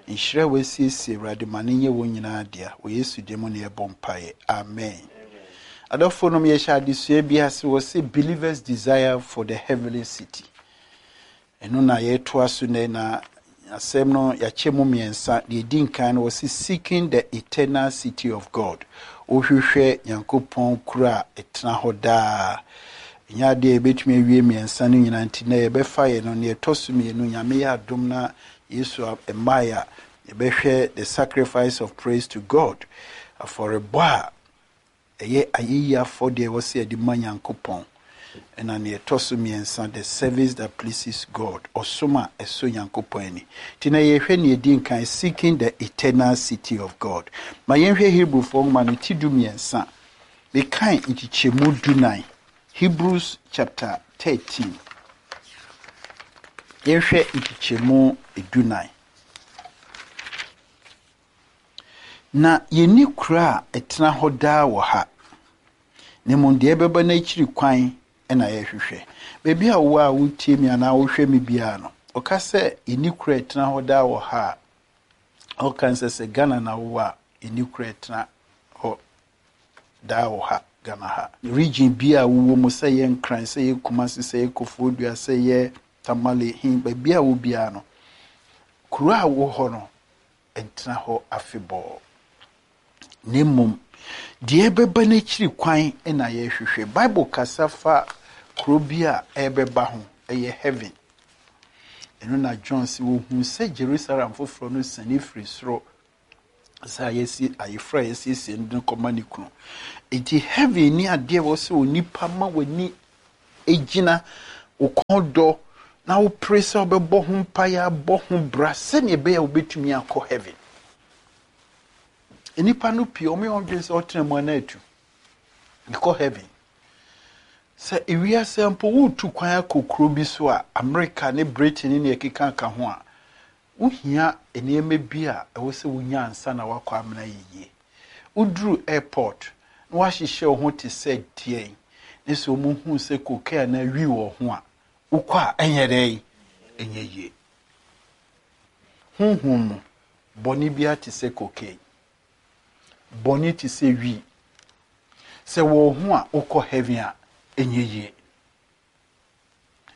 Nhyira a wasiesie, Awurade, ma no nyɛ wɔn nyinaa dea. Wɔ Yesu din mu na yɛbɔ mpaeɛ. Amen. Adɔfoɔ nom, yɛhyɛ adesua bi ase, wɔse Believers Desire for the Heavenly City. Ɛno na yɛretoa so nnɛ, na asɛm no yɛakyɛ mu mmiɛnsa. Deɛ ɛdi nkan no, wɔse Seeking the Eternal City of God. Wohwehwɛ Nyankopɔn kuro a ɛtena hɔ daa. Ɛnyɛ adeɛ a yɛbɛtumi awie mmiɛnsa no nyinaa nti nnɛ yɛbɛfa yɛ no. Deɛ ɛtɔ so mmienu, Nyame yɛ adom na Yesu mmaeɛ a, yɛbɛhwɛ The Sacrifice of Praise to God, afɔrebɔ a Ɛyɛ ayeyi afɔdeɛ a ɛwɔ sɛ yɛde ma Nyankopɔn. Ɛna nea ɛtɔ so mmiɛnsa, the service that pleases God, ɔsom a ɛsɔ Nyankopɔn ani. Nti na yɛhwɛ nea ɛdi nkan, seeking the eternal city of God. Ma yɛnhwɛ Hebrewfoɔ nwoma no ti 13. Mekan nkyekyɛmu dunan. Hebrews chapter 13. Yɛnhwɛ nkyekyɛmu dunan. Na yenni kuro a ɛtena hɔ daa wɔ ha, na mmom deɛ ɛbɛba no akyiri kwan na yɛhwehwɛ. Baabi a wowɔ a wotie me anaa wohwɛ me biara no, ɔka sɛ yenni kuro a ɛtena hɔ daa wɔ ha a, ɔka nsɛ sɛ Ghana na wowɔ a, yenni kuro a ɛtena hɔ daa wɔ ha, Ghana ha. Region bi a wowɔ mu, sɛ ɛyɛ Nkran, sɛ ɛyɛ Kumasi, sɛ ɛyɛ Koforidua, sɛ ɛyɛ. Tamale, he, baabi a wɔ biara no, kuro a wɔ hɔ no, ntena hɔ afebɔɔ. Na mmom, deɛ ɛbɛba n'akyiri kwan na yɛrehwehwɛ. Bible kasa fa kuro bi a ɛrebɛba ho, ɛyɛ heaven. Ɛno na John sɛ wɔhuu sɛ Jerusalem foforɔ no siane firi soro sɛ ayɛsi ayeforo a yɛasiesie no de kɔma ne kunu. Enti heaven ni adeɛ wɔ sɛ onipa ma w'ani gyina wo kɔn dɔ na wopere sɛ wobɛbɔ ho mpaeɛ abɔ ho bra sɛnea ɛbɛyɛ a wobɛtumi akɔ heaven. Nnipa no pii wɔn yɛ wɔn dwene sɛ ɔtena mu ana atu mekɔ heaven. Sɛ ewiase mpo woretu kwan akɔ kuro bi so a Amerika ne Britain ne nea ɛkeka ka ho a wohia nneɛma bi a ɛwɔ sɛ wonya ansa na wakɔ amena yie. Woduru airport na wahyehyɛ wo ho te sɛ deɛn ne sɛ wɔn hu sɛ cocaine anaa wi wɔ ho a wokɔ a ɛnyɛ dɛn ɛnyɛ yie. Honhom mu bɔne biara te sɛ cocaine. Bɔne te sɛ wi. Sɛ wɔ ho a wokɔ heaven a ɛnyɛ yie.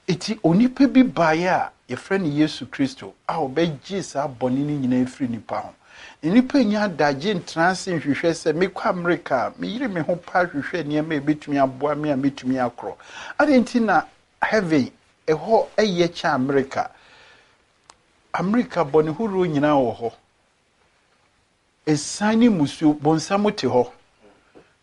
Eti onipa bi baeɛ a yɛfrɛ no Yesu Kristo a ɔbɛgye saa bɔne no nyinaa firi nipa ho. Nnipa nya adagye ntena ase nhwehwɛ sɛ mekɔ Amerika a meyere me ho paa hwehwɛ nneɛma a ɛbɛtumi aboa me a mɛtumi akorɔ. Adɛn nti na heaven ɛhɔ ɛyɛ kyɛn Amerika? Amerika bɔne horoɔ nyinaa wɔ hɔ. Ɛsan ne musuo, bonsam te hɔ.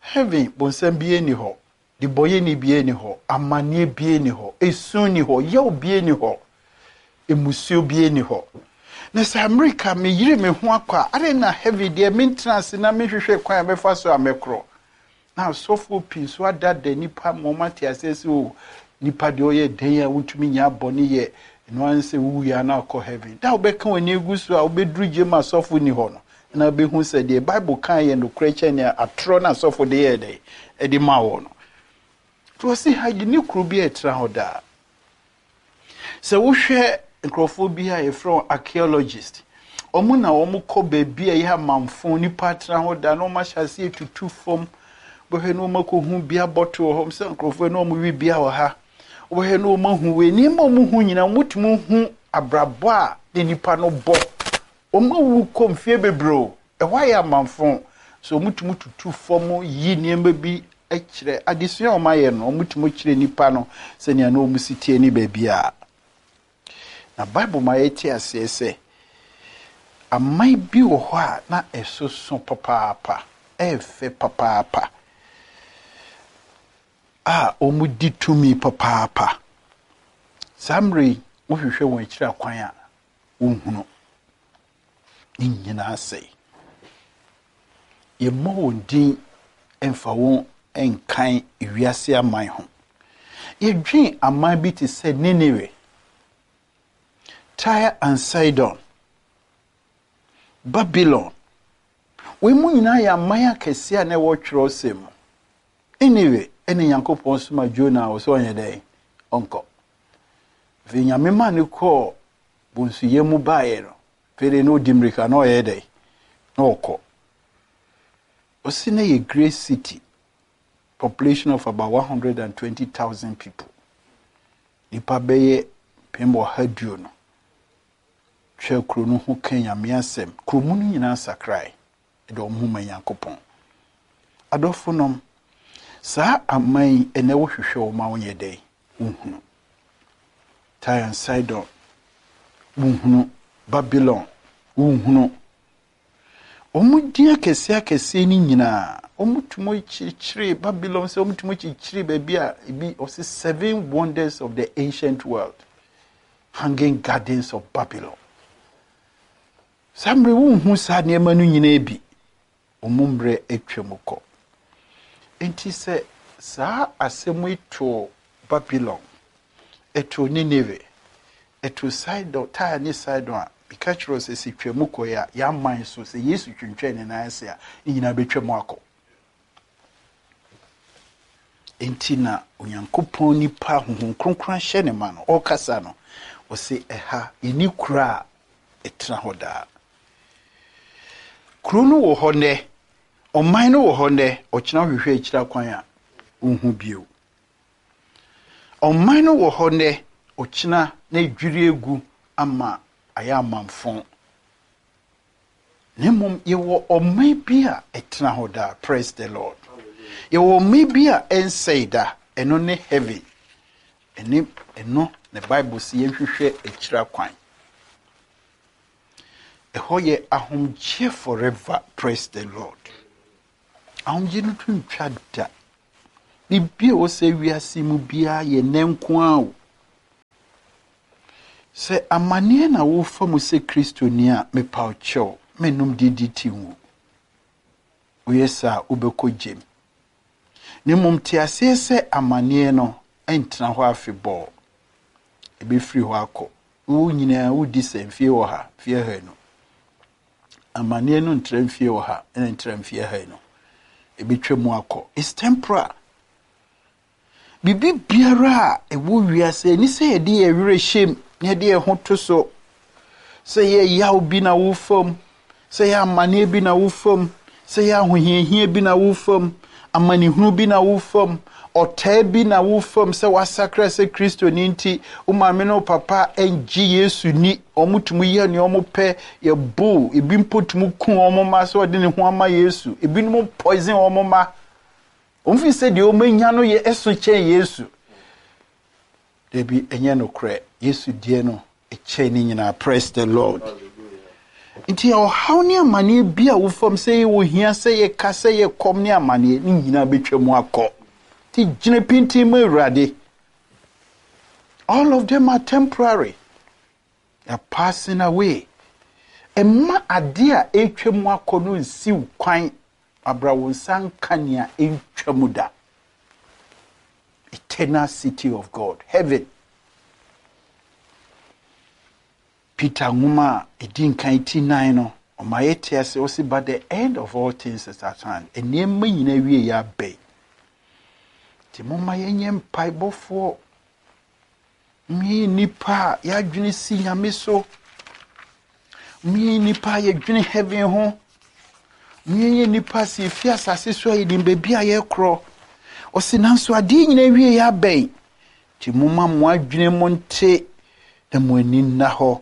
Heaven, bonsam biara nni hɔ. Debɔyɛni biara nni hɔ. Amanneɛ biara nni hɔ. Esu nni hɔ. Yaw biara nni hɔ. Emusuo biara nni hɔ. Na sɛ Amerika meyere me ho akɔ a, adɛn na heaven deɛ mentena ase na menhwehwɛ kwan a mɛfa so a mɛkorɔ? Na asɔfoɔ pii nso adada nnipa ma wɔn ate aseɛ sɛ o nipa deɛ ɔyɛ dɛn a wontumi nya bɔne yɛ ɛno ara sɛ wowu a na akɔ heaven. Da a wobɛka w'ani agu so a wobɛduru gye ma asɔfo nni hɔ no na wobɛhu sɛ deɛ Bible kan yɛ nokorɛ kyɛn nea atorɔ na asɔfo de yɛɛ dɛn ɛde ma wɔ no. Nti wɔse ha yi ne kuro bi a ɛtena hɔ daa. Sɛ wohwɛ nkurɔfoɔ bi a yɛfrɛ wɔn archaeologist, wɔn na wɔn kɔ baabi a ɛyɛ amanfo, nipa atena hɔ da na wɔn ahyɛ aseɛ tutu fam. Wobɛhwɛ na wɔn akɔhu bia bɔtol wɔ hɔ, sɛ nkurɔfoɔ na wɔn wi bia wɔ ha. Wobɛhwɛ na wɔn ahu wei, nneɛma a wɔn hu nyinaa, wɔtumi hu abrabɔ a ne nipa no bɔ. Wɔn awu kɔ mfie bebree o, ɛhɔ ayɛ amanfo. So wɔtumi tutu fam yi nneɛma bi kyerɛ adesua a wɔayɛ no, wɔtumi kyerɛ nipa no sɛnea na wɔn si tie ne baabi a. Na Bible ma yɛte aseɛ sɛ aman bi wɔ hɔ a na ɛsoso papaapa, ɛyɛ papaapa, a wɔdi tumi papaapa. Saa mmerɛ yi, wohwehwɛ wɔn akyiri akwan a, wonhunu. Ne nyinaa sɛe. Yɛmmɔ wɔn din mfa wɔn nkan wiase aman ho. Yɛdwen aman bi te sɛ Nineveh, Tyre and Sidon, Babylon. Wɔn mu nyinaa yɛ aman akɛseɛ a na ɛwɔ twerɛsɛm mu. Nineveh ɛne Nyankopɔn soma Jonah a ɔsɛ ɔnyɛ dɛn? Ɔnkɔ. Afei Nyame maa no kɔɔ bonsuyɛ mu baeɛ no, afei de na ɔdi mmirika na ɔyɛ dɛn? Na ɔkɔ. Ɔsi na yɛ great city, population of about 120,000 people. Nipa bɛyɛ mpem ɔha duo no. Twa kuro no ho ka Nyame asɛm. Kuro mu no nyinaa sakrae. Ɛde wɔn ho ma Nyankopɔn. Adɔfo nom, saa aman yi ɛnɛ wohwehwɛ wɔn a wonyɛ dɛn? Wonhunu. Tyre and Sidon, wonhunu. Babylon, wonhunu. Wɔn din akɛseɛ akɛseɛ no nyinaa, wɔtumi kyekyere Babylon sɛ wɔtumi kyekyere baabi a ebi ɔsɛ seven wonders of the ancient world, hanging gardens of Babylon. Saa mmerɛ wonhu saa nneɛma no nyinaa bi, wɔn mmerɛ atwa mu kɔ. Nti sɛ saa asɛm yi too Babylon, ɛtoo Nineveh, ɛtoo Sidon, Tyre ne Sidon a, meka kyerɛ wo sɛ sɛ twa mu kɔɛ a, yɛaman so, sɛ Yesu twentwɛn ne nan ase a, ne nyinaa bɛtwa mu akɔ. Enti na Onyankopɔn nipa Honhom Kronkron ahyɛ ne ma no, ɔrekasa no, ɔse ɛha, yɛni kuro a ɛtena hɔ daa. Kuro no wɔ hɔ nnɛ, ɔman no wɔ hɔ nnɛ, ɔkyena wohwehwɛ akyiri akwan a, wonhu bio. Ɔman no wɔ hɔ nnɛ, ɔkyena na adwiri agu ama ayɛ amamfõ. Na mmom yɛwɔ ɔman bi a ɛtena hɔ daa. Praise the Lord. Yɛwɔ ɔman bi a ɛnsɛe da, ɛno ne heaven. Ɛne ɛno na Bible sɛ yɛnhwehwɛ akyira kwan. Ɛhɔ yɛ ahomgyeɛ forever. Praise the Lord. Ahomgye no to ntwa da. Biribi a ɛwɔ sɛ wiase mu biara yɛ nnɛ nko ara o. Sɛ amanneɛ na wofa mu sɛ Kristoni a, mepa wo kyɛw, mennom DDT nwu. Woyɛ saa a, wobɛkɔ gyem. Na mmom te aseɛ sɛ amanneɛ no ntena hɔ afebɔɔ. Ɛbɛfiri hɔ akɔ. Wo nyinaa wodi sɛ mfie 100, mfie 200. Amanneɛ no ntra mfie 100 ɛna ntra mfie 200. Ɛbɛtwa mu akɔ. It's temporal. Biribi biara a ɛwɔ wiase, ɛni sɛ yɛde yɛn werɛ hyɛm na yɛde yɛn ho to so. Sɛ yɛ yaw bi na wofam, sɛ yɛ amanneɛ bi na wofam, sɛ yɛ ahohiahia bi na wofam, amanehunu bi na wofam, ɔtaa bi na wofam, sɛ wasakra sɛ Kristoni nti, wo maame ne wo papa ngye Yesu ni, wɔn tumi yɛ nea wɔn pɛ, yɛbo, ebi mpo tumi ku wɔn mma sɛ ɔde ne ho ama Yesu, ebinom poison wɔn mma. Wɔn fi sɛ deɛ wɔn anya no yɛ ɛso kyɛn Yesu. Dabi, ɛnyɛ nokorɛ. Yesu deɛ no ɛkyɛn ne nyinaa. Praise the Lord. Nti ɔhaw ne amanneɛ bi a wofam sɛ yɛ ohia, sɛ yɛ ka, sɛ yɛ kɔm ne amanneɛ ne nyinaa bɛtwa mu akɔ. Nti gyina pintin mu Awurade. All of them are temporary. They are passing away. Ɛmma adeɛ a ɛretwa mu akɔ no nsiw kwan abra wo nsa nka nea ɛntwa mu da. Eternal city of God, heaven. Peter nwoma a ɛdi nkan ti 9 no, ɔma yɛte ase, ɔse, but the end of all things is at hand. Nneɛma nyinaa wie yɛ abɛn. Nti momma yɛnyɛ mpaebɔfoɔ. Mmea nnipa a yɛadwene si Nyame so. Mmea nnipa a yɛdwene heaven ho. Mmea nnipa a sɛ yɛfi asase so a yɛnim baabi a yɛkorɔ. Ɔse nanso adeɛ nyinaa wie yɛ abɛn. Nti momma mo adwene mo nte na mo ani nna hɔ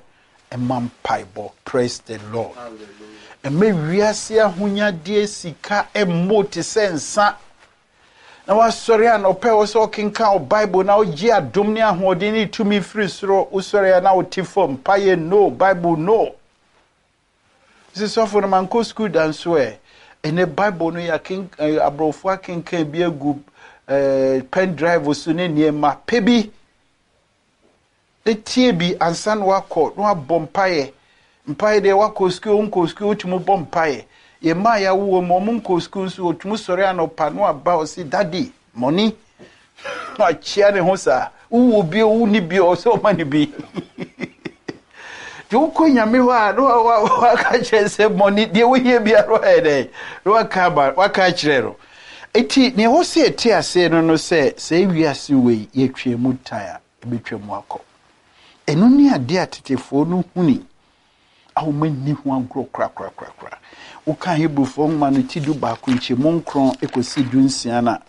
ɛma mpaebɔ. Praise the Lord. Ɛmɛ wiase ahonyadeɛ sika ɛmmɔ te sɛ nsa. Na wasɔre anɔpɛ wɔ sɛ ɔkenkan wo Bible na wogye adom ne ahoɔden ne tumi firi soro. Wosɔre a na wote fam. Mpaeɛ no, Bible no. Sɛ sɔfo no mankɔ sukuu da nso ɛ. Ɛnɛ Bible no yɛ aborɔfo akenkan bi agu pen drive so ne nneɛma pɛ bi. Etie bi ansa na wakɔ na wabɔ mpaeɛ. Mpaeɛ deɛ wakɔ sukuu, wonkɔ sukuu, wotumi bɔ mpaeɛ. Yɛn mmaa yɛawo wɔn mu, wɔn nkɔ sukuu nso, wɔtumi sɔre anɔpa na waba ɔsi daddy money. Na wakyia ne ho saa. Wowɔ bi o, wonni bi o, ɔsɛ ɔma ne bi. Nti wokɔ Nyame hɔ a, na waka kyerɛ sɛ money, deɛ wohia biara ɔyɛ dɛ, na waka aba, waka akyerɛ no. Eti nea ɛwɔ sɛ yɛte aseɛ no no sɛ, sɛ wiase wei yɛtwa mu tan a, ɛbɛtwa mu akɔ. Ɛno ne adeɛ a tetefoɔ no huni a wɔn ani ho agorɔ korakorakorakora. Woka Hebrewfoɔ nwoma no ti 11 nkyɛmu 9 kɔsi 16 no a,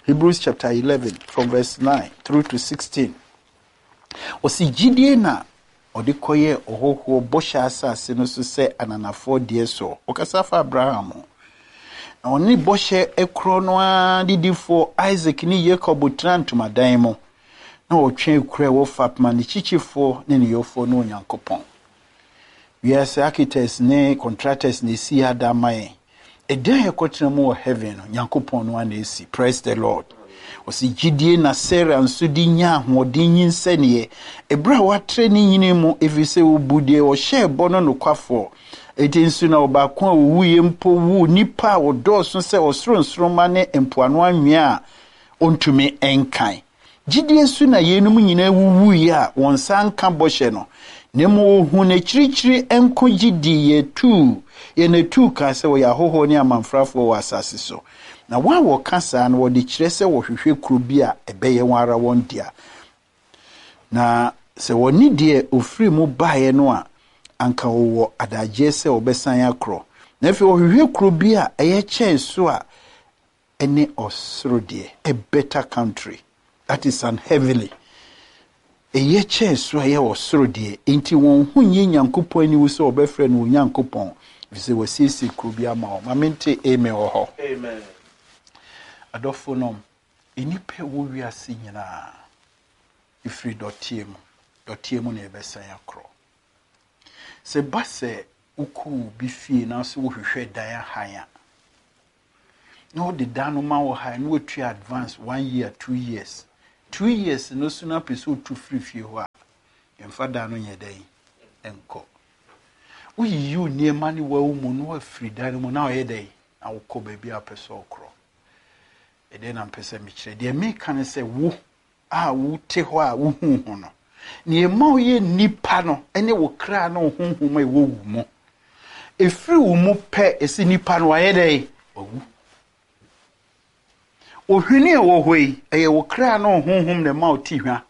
Hebrews chapter 11 from verse 9 through to 16. Ɔsi gyidie na ɔde kɔyɛ ɔhɔhoɔ bɔhyɛ asase no so sɛ ananafoɔ deɛ soɔ. Ɔkasa fa Abraham ho. Na ɔne bɔhyɛ korɔ no ara didifoɔ Isaac ne Jacob tena ntomadan mu. Na ɔtwe kura ɛwɔ fapem a ne kyikyifoɔ ne ne yɔfoɔ ne Onyankopɔn. Wiase architects ne contractors na esi ada ama yɛn. Ɛdan a yɛkɔtena mu wɔ heaven no, Nyankopɔn no ana esi. Praise the Lord. Ɔsi gyidie na Sarah nso de nya ahoɔden nyinsɛneɛ. Ɛberɛ a watrɛ ne nyini mu, ɛfiri sɛ ɔbu deɛ ɔhyɛɛ bɔ no nokwafoɔ. Enti nso na ɔbaako a ɔwuiɛ mpo wuu nnipa a wɔdɔɔso sɛ ɔsoro nsoromma ne mpoano anwea a ɔntumi nkan. Gyidie so na yeinom nyinaa wuwuiɛ a wɔn nsa nka bɔhyɛ no, na mmom wɔhuu n'akyirikyiri nko gye dii yɛn atuu kaa sɛ wɔyɛ ahɔhoɔ ne amamfrafoɔ wɔ asase so. Na wɔn a wɔka saa no, wɔde kyerɛ sɛ wɔhwehwɛ kuro bi a ɛbɛyɛ wɔn ara wɔn dea. Na sɛ wɔne deɛ ofiri mu baeɛ no a, anka wɔwɔ adagyeɛ sɛ wɔbɛsan akorɔ. Na afei wɔhwehwɛ kuro bi a ɛyɛ kyɛn so a ɛne ɔsoro deɛ, a better country. That is an heavenly. Ɛyɛ kyɛn soro a ɛyɛ ɔsoro deɛ, enti wɔn ho nyɛ Nyankopɔn aniwu sɛ wɔbɛfrɛ no Onyankopɔn, ɛfiri sɛ wasiesie kuro bi ama wɔn. Ma mente amen wɔ hɔ. Amen. Adɔfo nom, nnipa ɛwɔ wiase nyinaa, ɛfiri dɔteɛ mu, dɔteɛ mu na yɛbɛsan akorɔ. Sɛ ba sɛ wokɔ obi fie na sɛ wohwehwɛ dan ahan a, na ɔde dan no ma wo ha na watua advance one year, 2 years, 2 years no so na apɛ sɛ otu firi fie hɔ a, yɛmfa dan no nyɛ dɛn nkɔ. Woyiyi wo nneɛma ne wawu mu na wafiri dan no mu na ɔyɛ dɛn na wokɔ baabi a wopɛ sɛ ɔkorɔ. Ɛdɛn na mpɛ sɛ mekyerɛ? Deɛ meka ne sɛ, wo a wote hɔ a wohu ho no, nea ɛma woyɛ nnipa no ne wo kra ne wo honhom a ɛwɔ wo mu. Ɛfiri wo mu pɛ, ɛsɛ nipa no wayɛ dɛn? Wawu. Ohwene a ɛwɔ hɔ yi, ɛyɛ wo kra ne wo honhom na ɛma wo te hwa.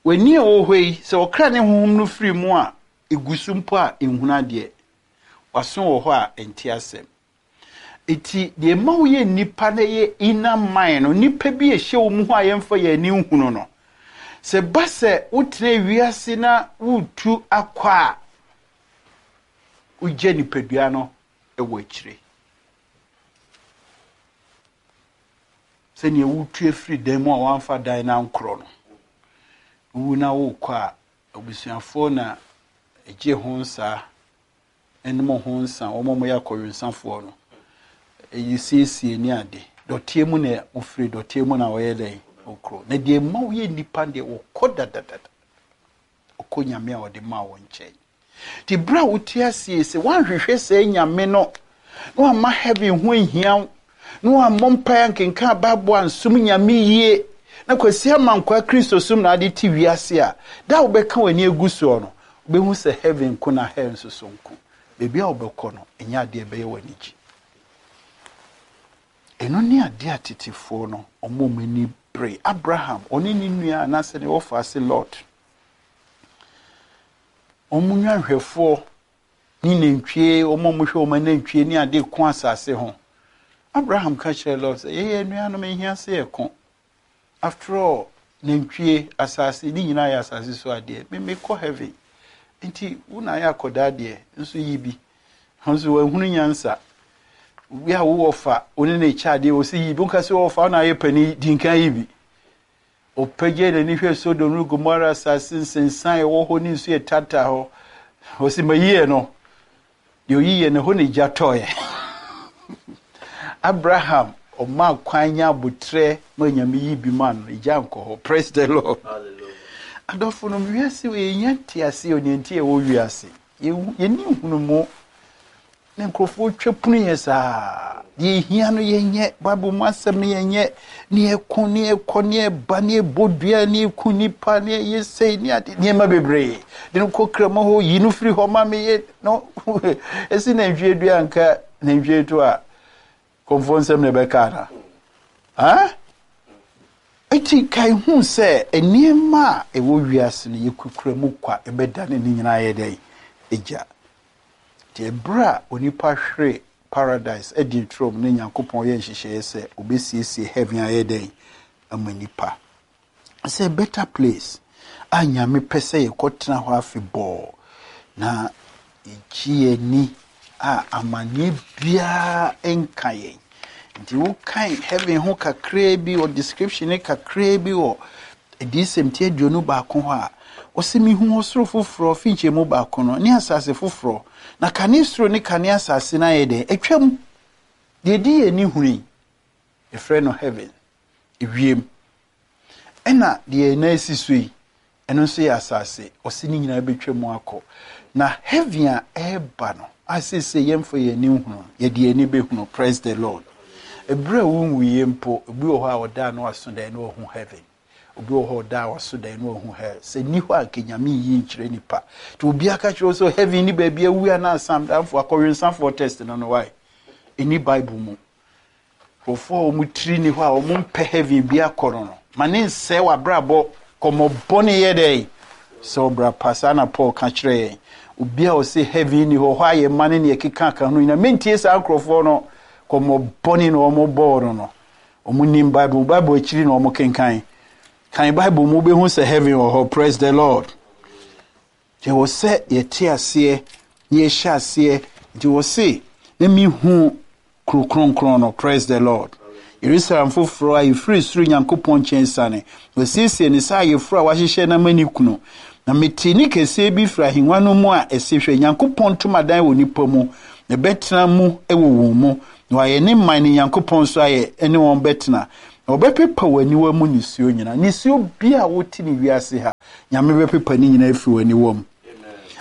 W'ani a ɛwɔ hɔ yi, sɛ wo kra ne honhom no firi mu a, ɛgu so mpo a, ɛnhunu adeɛ. W'aso wɔ hɔ a, ɛnte asɛm. Eti deɛ ɛma woyɛ nnipa no yɛ inner mind no, nnipa bi a ɛhyɛ wo mu hɔ a yɛmfa yɛn ani nhunu no. Sɛ ba sɛ wotena wiase na woretu akɔ a, wogya nipadua no wɔ akyire. Sɛnea wotu afiri dan mu a wɔamfa dan no ankorɔ no, wowu na wokɔ a, abusuafoɔ na ɛgye ho nsa, nom ho nsa, wɔn a wɔyɛ akɔwensafoɔ no, ɛyi siesie ne ade. Dɔteɛ mu na wofiri, dɔteɛ mu na wɔyɛ dɛn? Wokoro. Na deɛ ɛma woyɛ nnipa deɛ, wɔkɔ dadadada. Ɔkɔ Nyame a ɔde maa wɔn nkyɛn. Nti berɛ a wote aseɛ sɛ woanhwehwɛ saa Nyame no, na wamma heaven ho ahia wo, na wammɔ mpaeɛ ankenkan Bible ansom Nyame yie, na Kwasi Amankwaa Kristosom na ade te wiase a, da a wobɛka w'ani agu soɔ no, wobɛhu sɛ heaven nko na hell nso so nko. Baabi a wobɛkɔ no, ɛnyɛ adeɛ a ɛbɛyɛ w'anigye. Ɛno ne adeɛ a tetefoɔ no, wɔn a wɔn ani bere. Abraham, ɔne ne nua anaasɛ ne wɔfa ase Lot, wɔn nnwanhwɛfoɔ ne nantwie, wɔn a wɔhwɛ wɔn anantwie ne ade ko asase ho. Abraham ka kyerɛɛ Lot sɛ, yɛyɛ anuanom, ɛhia sɛ yɛko. After all, nantwie, asase, ne nyinaa yɛ asase so adeɛ. Me mekɔ heaven. Nti, wo na ayɛ akɔdaa deɛ, nso yi bi. Nso wahunu nyansa. Obi a wowɔ fa, wo ne ne kyɛ adeɛ, wɔ sɛ yi bi. Wonka sɛ wɔwɔ fa, wo na ayɛ panin, di nkan yi bi. Ɔpagyae n'ani hwɛɛ Sodom ne Gomora asase nsensan a ɛwɔ hɔ ne nsu a ɛtaataa hɔ. Ɔse, Mayi no. Deɛ ɔyiiɛ no, ɛhɔ na egya tɔeɛ. Abraham, ɔmaa kwan nya abotrɛ ma Nyame yi bi maa no, egya nkɔ hɔ. Praise the Lord. Adɔfo nom, wiase wei yɛnya nteaseɛ o, nea nti yɛwɔ wiase. Yɛnni nhunumu. Na nkurɔfoɔ twa pono yɛ saa. Deɛ ɛhia no yɛnyɛ, Bible mu asɛm no yɛnyɛ, ne yɛko, ne yɛkɔ, ne yɛba, ne yɛbɔ dua, ne yɛku nipa, ne yɛyɛ sei, ne ade, nneɛma bebree. De no kɔ kramo hɔ, yi no firi hɔ ma me yɛ no. Ɛsi nantwie dua nka nantwie to a, kɔmfoɔ nsɛm na ɛbɛka ana? Ha? Eti kae hu sɛ nneɛma a ɛwɔ wiase no yɛkukura mu kwa, ɛbɛdane ne nyinaa yɛ dɛn? Egya. Nti ɛberɛ a onipa hwere paradise Eden turom na Nyankopɔn yɛ nhyehyɛeɛ sɛ ɔbɛsiesie heaven ayɛ dɛn ama nipa. Sɛ better place a Nyame pɛ sɛ yɛkɔtena hɔ afebɔɔ na yɛgye yɛn ani a amanneɛ biara nka yɛn. Nti wokan heaven ho kakraa bi wɔ description ne kakraa bi wɔ Adiyisɛm ti 21 hɔ a, ɔse, Mihu ɔsoro foforɔ fi nkyɛmu baako no ne asase foforɔ, na kane soro ne kane asase no ayɛ dɛn? Atwam. Deɛ ɛdi yɛn ani hunu yi, yɛfrɛ no heaven, ewiem. Ɛna deɛ yɛn nan si so yi, ɛno nso yɛ asase. Ɔse ne nyinaa bɛtwa mu akɔ. Na heaven a ɛreba no, a seesei yɛmfa yɛn ani nhunu no, yɛde yɛn ani bɛhunu. Praise the Lord. Ɛberɛ a wonwuiɛ mpo, obi wɔ hɔ a ɔdaa no aso daeɛ na wahu heaven. Obi wɔ hɔ ɔdaa waso daeɛ na wahu hell. Sɛ nni hɔ a, nka Nyame nyi nkyerɛ nipa. Nti obiara ka kyerɛ wo sɛ heaven ni baabi awu anaa asamdanfoɔ, akɔwensafoɔ test no no why? Ɛni Bible mu. Nkurɔfoɔ a wɔn tiri ni hɔ a wɔn mpɛ heaven bi akɔ no no, ma ne nsɛe w'abrabɔ. Kɔmmɔ bɔne yɛ dɛn? Sɛ ɔbra pa, saa na Paul ka kyerɛ yɛn. Obi a ɔse heaven ni hɔ, hɔ a yɛ mma ne nea ɛkeka ka ho nyinaa, mentie saa nkurɔfoɔ no. Kɔmmɔ bɔne na wɔn bɔɔ no no. Wɔn nim Bible, Bible akyiri na wɔn kenkan. Kan Bible mu wobɛhu sɛ heaven wɔ hɔ. Praise the Lord. Nti ɛwɔ sɛ yɛte aseɛ na yɛhyɛ aseɛ. Nti wɔ se na mehu kuro kronkron no. Praise the Lord. Yerusalem foforɔ a ɛfiri soro Nyankopɔn nkyɛn siane. Wasiesie ne sɛ ayeforɔ a wahyehyɛ no ama ne kunu. Na metee nne kɛseɛ bi firi ahennwa no mu a ɛse, Hwɛ, Nyankopɔn ntomadan wɔ nnipa mu, na ɛbɛtena mu wɔ wɔn mu, na wɔayɛ ne man, ne Nyankopɔn nso ayɛ ne wɔn bɛtena. Na wɔbɛpepa wɔn aniwa mu nisuo nyinaa. Nisuo biara a wote ne wiase ha, Nyame bɛpepa ne nyinaa afiri wɔn aniwa mu.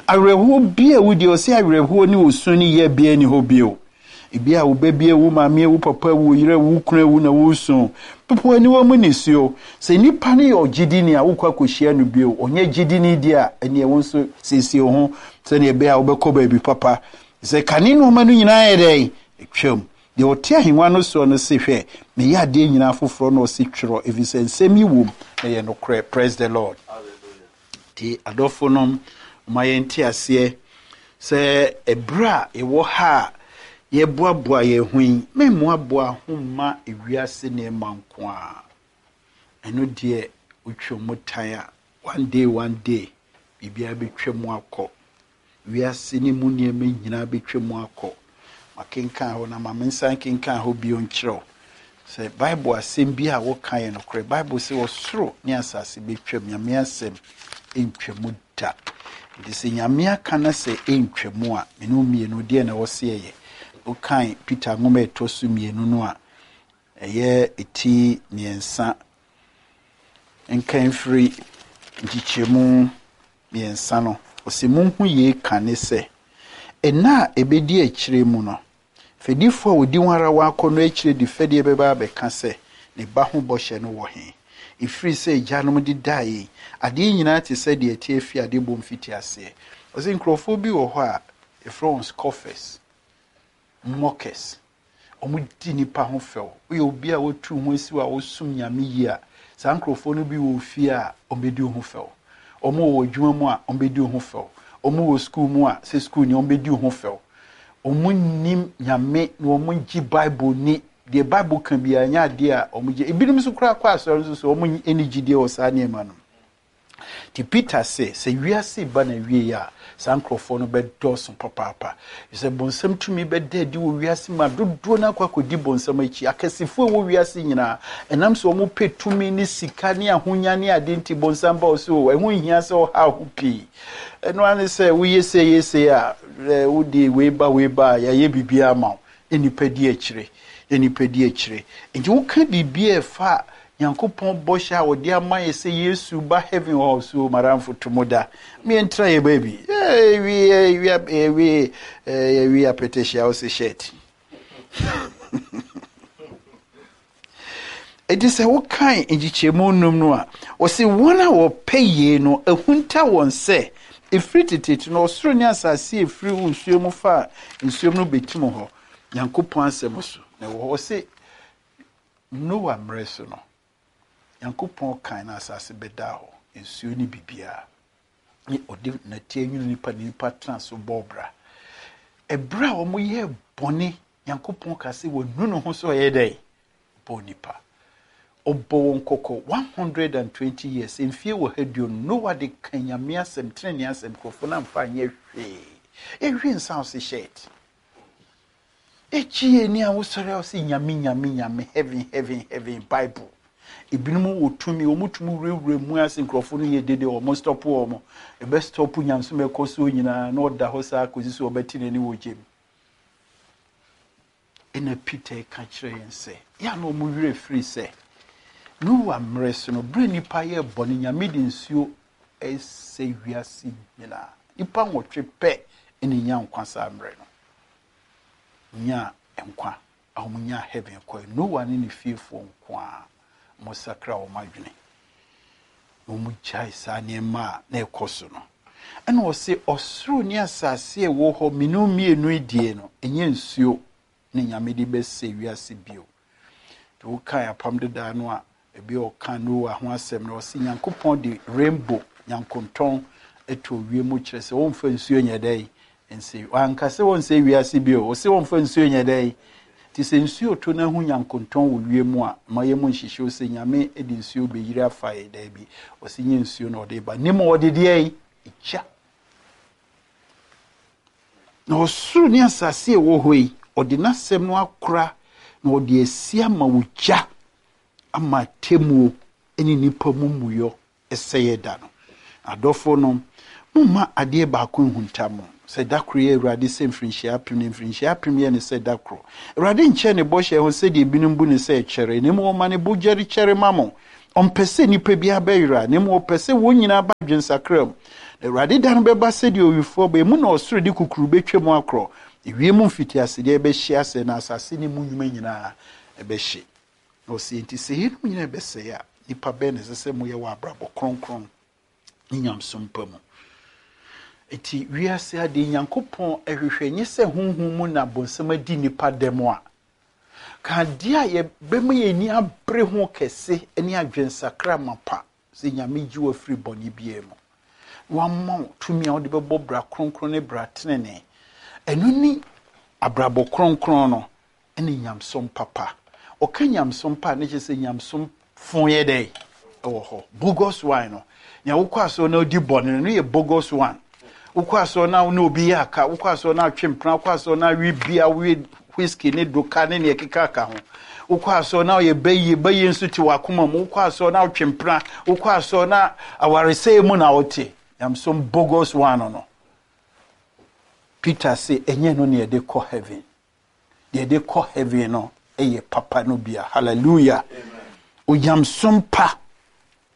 Awerɛhoɔ bi a wodi, ɔse awerɛhoɔ ne osu ne yea biara nni hɔ bio. Ebi a wo ba bi awu, maame awu, papa awu, wo yere awu, wo kunu awu na woresu. Pepa w'aniwa mu nisuo. Sɛ nipa no yɛ ɔgyedini a, wokɔ akɔhyia no bio. Ɔnyɛ gyedini deɛ a, ɛneɛ wo nso siesie wo ho sɛdeɛ ɛbɛyɛ a wobɛkɔ baabi papa. Sɛ kane nnoɔma no nyinaa yɛ dɛn? Atwam. Deɛ ɔte ahennwa no soɔ no se, Hwɛ, meyɛ adeɛ nyinaa foforɔ, na ɔse, Twerɛ, ɛfiri sɛ nsɛm yi wom, na ɛyɛ nokorɛ. Praise the Lord. Nti adɔfonom, momma yɛnte aseɛ sɛ ɛberɛ a yɛwɔ ha a yɛboaboa yɛn ho yi, memmoaboa ho mma ewiase nneɛma nko ara. Ɛno deɛ wotwa mu tan a, one day one day, biribiara bɛtwa mu akɔ. Wiase no mu nneɛma nyinaa bɛtwa mu akɔ. Makenkan hɔ na ma mensan nkenkan hɔ bio nkyerɛ wo sɛ Bible asɛm bi a woka yɛ nokorɛ. Bible sɛ ɔsoro ne asase bɛtwam, Nyame asɛm ntwa mu da. Nti sɛ Nyame aka na sɛ ɛntwa mu a, mene wo mmienu deɛ na ɛwɔ sɛ yɛyɛ? Wokan Peter nwoma a ɛtɔ so mmienu no a, ɛyɛ ti mmiɛnsa nkan firi nkyekyɛmu mmiɛnsa no, ɔse, Monhu yei kane sɛ, nna a ɛbɛdi akyire mu no, fɛdifoɔ a wɔdi wɔn ara wɔn akɔnnɔ akyire de fɛdeɛ bɛba abɛka sɛ, Ne ba ho bɔhyɛ no wɔ he? Ɛfiri sɛ agyanom de daa yei, adeɛ nyinaa te sɛ deɛ ɛteɛ firi adebɔ mfitiaseɛ. Ɔse nkurɔfoɔ bi wɔ hɔ a, yɛfrɛ wɔn scoffers, mockers. Wɔdi nnipa ho fɛw. Woyɛ obi a woatu wo ho asi hɔ a wosom Nyame yie a, saa nkurɔfoɔ no bi wɔ wo fie a, wɔbɛdi wo ho fɛw. Wɔn wɔ w'adwuma mu a, wɔbɛdi wo ho fɛw. Wɔn wɔ sukuu mu a, sɛ sukuuni, wɔbɛdi wo ho fɛw. Wɔnnim Nyame na wɔngye Bible nni. Deɛ Bible ka biara, ɛnyɛ adeɛ a wɔgye. Ebinom nso koraa kɔ asɔre nso so, wɔn nni gyidie wɔ saa nneɛma no mu. Nti Peter se, sɛ wiase reba n'awiei a, saa nkurɔfoɔ no bɛdɔɔso papaapa. Efisɛ bonsam tumi bɛda adi wɔ wiase mu a dodoɔ no akɔ akɔdi bonsam akyi. Akɛsefoɔ a ɛwɔ wiase nyinaa, ɛnam sɛ wɔpɛ tumi ne sika ne ahonya ne ade nti, bonsam ba wo so o, ɛho nhia sɛ ɔhaw ho pii. Ɛno ara ne sɛ woyɛ sei yɛ sei a, wode wei ba wei ba a, yɛayɛ biribiara ama wo. Na nnipa di akyire, na nnipa di akyire. Nti woka biribi a ɛfa Nyankopɔn bɔhyɛ a ɔde ama yɛ sɛ Yesu ba heaven hɔ so madamfo to mo da. Me yɛntra yɛ baabi. Yɛwie yɛwie yɛwie apɛtɛhyia wo se shirt. Enti sɛ wokan nkyekyɛmu num no a, wɔse wɔn a wɔpɛ yei no ahunta wɔn sɛ ɛfiri teteete no ɔsoro ne asase a ɛfiri nsuo mu fa nsuom no bɛtim hɔ Nyankopɔn asɛm so na ɛwɔ hɔ. Wɔse Noa mmerɛ so no, Nyankopɔn kan na asase bɛdaa hɔ, nsuo ne biribiara. Ne ɔde nɛteɛ nwunu nipa ne nipa tena so bɔɔ bra. Ɛberɛ a wɔyɛɛ bɔne, Nyankopɔn ka sɛ wɔnu ne ho sɛ ɔyɛ dɛn? Ɔbɔɔ nipa. Ɔbɔ wɔn kɔkɔ 120 years, mfie wɔ ha duonu. Noa de ka Nyame asɛm, tenenee asɛm, nkurɔfoɔ no amfa anyɛ hwee. Yɛhwe nsa ɔse shirt. Ekyi yɛ ni a wosɔre a wose Nyame Nyame Nyame heaven heaven heaven bible. Ebinom wɔ tumi wɔn tumi wurawura mu ase nkurɔfo no yɛ dede wɔn stop wɔn. Ɛbɛ stop nyamesom ɛkɔ soɔ nyinaa na ɔda hɔ saa kɔsi so ɔbɛte n'ani wɔ gyem. Ɛna Peter ka kyerɛ yɛn sɛ yɛ a na wɔn werɛ firi sɛ Noa mmerɛ so no berɛ nnipa yɛ bɔne Nyame de nsuo ɛsɛ wiase nyinaa. Nnipa nwɔtwe pɛ ɛna nya nkwa saa mmerɛ no. Nyaa nkwa a wɔnyaa heaven kɔe. Noa ne ne fiefoɔ nko ara wɔsakra wɔn adwene na wɔgyae saa nneɛma a na ɛkɔ so no. Ɛna ɔse ɔsoro ne asase a ɛwɔ hɔ mmienu mmienu yi deɛ no, ɛnyɛ nsuo na Nyame de bɛsɛe wiase bio. Nti wokae apam dedaa no a, Ebi a ɔka Noa ho asɛm no, ɔse Nyankopɔn de rainbow, nyankontɔn, too wiem kyerɛ sɛ wɔmfa nsuo nyɛ dɛn? Nse. Wanka sɛ wɔnsɛe wiase bio. Ɔse wɔmfa nsuo nyɛ dɛn? Nti sɛ nsuo to na ahu nyankontɔn wɔ wiem a, mma yɛn mu nhyehye wo sɛ Nyame de nsuo bɛyiri afa yɛn. Daabi, ɔse nyɛ nsuo na ɔde ba, na mmom ɔde deɛn? Egya. Na ɔsoro ne asase a ɛwɔ hɔ yi, ɔde n'asɛm no akora na ɔde asi ama ogya ama atemmuo ne nnipa mumuyɔ sɛeɛ da no. Adɔfonom, momma adeɛ baako nhunta mo, sɛ da koro yɛ Awurade sɛ mfirinhyia apem, na mfirinhyia apem yɛ no sɛ da koro. Awurade nkyɛ ne bɔhyɛ ho sɛdeɛ ebinom bu no sɛ ɛkyɛre, na mmom ɔma ne bo gyɛre kyɛre ma mo. Ɔmpɛ sɛ nnipa biara bɛyera, na mmom ɔpɛ sɛ wɔn nyinaa ba adwensakra mu. Na Awurade da no bɛba sɛdeɛ owifoɔ ba, emu na ɔsoro de kukuru bɛtwam akorɔ, ewiem mfitiasedeɛ bɛhye asɛe, na asase ne mu nnwuma nyinaa bɛhye. Na ɔse, Enti sɛ yeinom nyinaa rebɛsɛe a, nnipa bɛn na ɛsɛ sɛ moyɛ wɔ abrabɔ kronkron ne nyamesom pa mu? Enti wiase adeɛ Nyankopɔn hwehwɛ nyɛ sɛ honhom mu na bonsam adi nnipa dɛm a, ka adeɛ a yɛbɛma yɛn ani abere ho kɛse ne adwensakra mapa sɛ Nyame gye wo afiri bɔne biara mu na wama wo tumi a wode bɛbɔ bra kronkron ne bra tenenee. Ɛno ne abrabɔ kronkron no ne nyamesom papa. Ɔka nyamesom pa a, na kyerɛ sɛ nyamesom fo yɛ dɛ ɛwɔ hɔ. Bogus one no, nea wokɔ asɔre na wodi bɔne no, no yɛ bogus one. Wokɔ asɔre na wo ne obi yɛ aka, wokɔ asɔre na atwe mpena, wokɔ asɔre na awe bia, wowe whisky ne doka ne nea ɛkeka ka ho. Wokɔ asɔre na ɔyɛ bayie, bayie nso te w'akoma mu. Wokɔ asɔre na wotwe mpena, wokɔ asɔre na awaresɛe mu na wote. Nyamesom bogus one no. Peter se ɛnyɛ no na yɛde kɔ heaven. Deɛ yɛde kɔ heaven no yɛ papa no bia. Hallelujah. Onyamesom pa,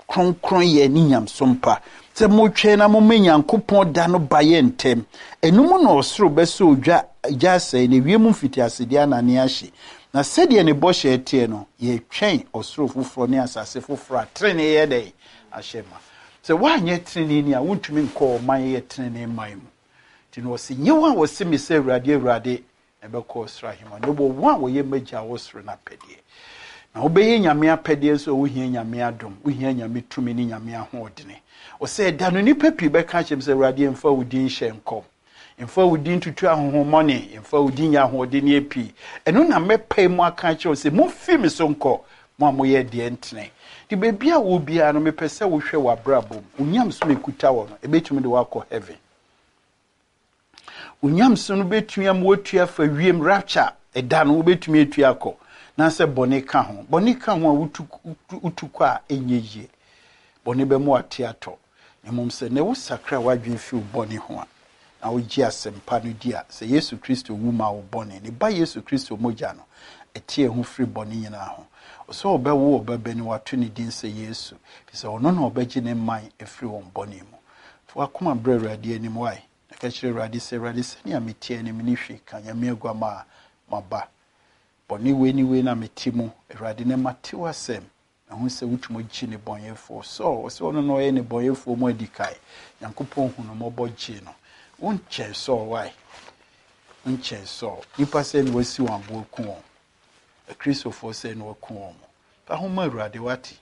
kronkronyɛ ne nyamesom pa. Sɛ motwɛn na moma Nyankopɔn da no ba yɛ ntɛm. Ɛno mu na ɔsoro bɛsɔ ogya gya asɛe, na ewiem mfitiasedeɛ anane ahye. Na sɛdeɛ ne bɔhyɛ teɛ no, yɛtwɛn ɔsoro foforɔ ne asase foforɔ a trenee yɛ dɛn? Ahyɛ ma. Sɛ woanyɛ treneeni a, wontumi nkɔ ɔman yɛ trenee man mu. Nti na ɔse, Nyɛ wɔn a wɔse me sɛ, Awurade, Awurade, na ɛbɛkɔ ɔsoro ahemman, na mmom wɔn a wɔyɛ m'agya a ɔwɔ soro no apɛdeɛ. Na wobɛyɛ Nyame apɛdeɛ nso a, wohia Nyame adom, wohia Nyame tumi ne Nyame ahoɔdene. Ɔsɛ ɛda no nnipa pii bɛka akyerɛ me sɛ, Awurade, yɛmfa wo din nhyɛ nkɔm, yɛmfa wo din ntutu ahonhommɔne, yɛmfa wo din nyɛ ahoɔdenneɛ pii. Ɛno na mɛpae mu aka akyerɛ wɔn sɛ, Momfiri me so nkɔ, mo a moyɛ deɛ ɛntene. Nti baabi a wowɔ biara no, mepɛ sɛ wohwɛ w'abrabɔ mu. Wo nyamesom a ɛkuta wɔ no, ɛbɛtumi de wo akɔ heaven. Wo nyamesom no bɛtumi ama woatu afa wiem, rapture, ɛda no wobɛtumi atu akɔ. Na sɛ bɔne ka ho. Bɔne ka ho a wotu, wotu kɔ a ɛnyɛ yie. Bɔne bɛma wate atɔ. Na mmom sɛ nnɛ wosakra w'adwene fi wo bɔne ho a, na wogye asɛmpa no di a, sɛ Yesu Kristo wu maa wo bɔne, ne Ba Yesu Kristo mogya no, ɛte yɛn ho firi bɔne nyinaa ho. Ɔsɛ ɔbɛwo ɔba na wato ne din sɛ Yesu, ɛfiri sɛ ɔno na ɔbɛgye ne man afiri wɔn bɔne mu. Fa w'akoma brɛ Awurade anim, wae, na ka kyerɛ Awurade sɛ, Awurade, sɛnea meteɛ no, menni hwee ka, Nyame Aguamaa, maba. Bɔne wei ne wei na mete mu, Awurade, na mate w'asɛm. Mahu sɛ wotumi gye nnebɔneyɛfoɔ. Saul, ɔsɛ ɔno na ɔyɛ nnebɔneyɛfoɔ mu adikan. Nyankopɔn hu no mmɔbɔ gyee no. Wonkyɛn Saul, why? Wonkyɛn Saul. Nnipa sɛ na wasi wɔn aboɔ aku wɔn. Akristofoɔ sɛ na waku wɔn. Fa ho ma Awurade, wate?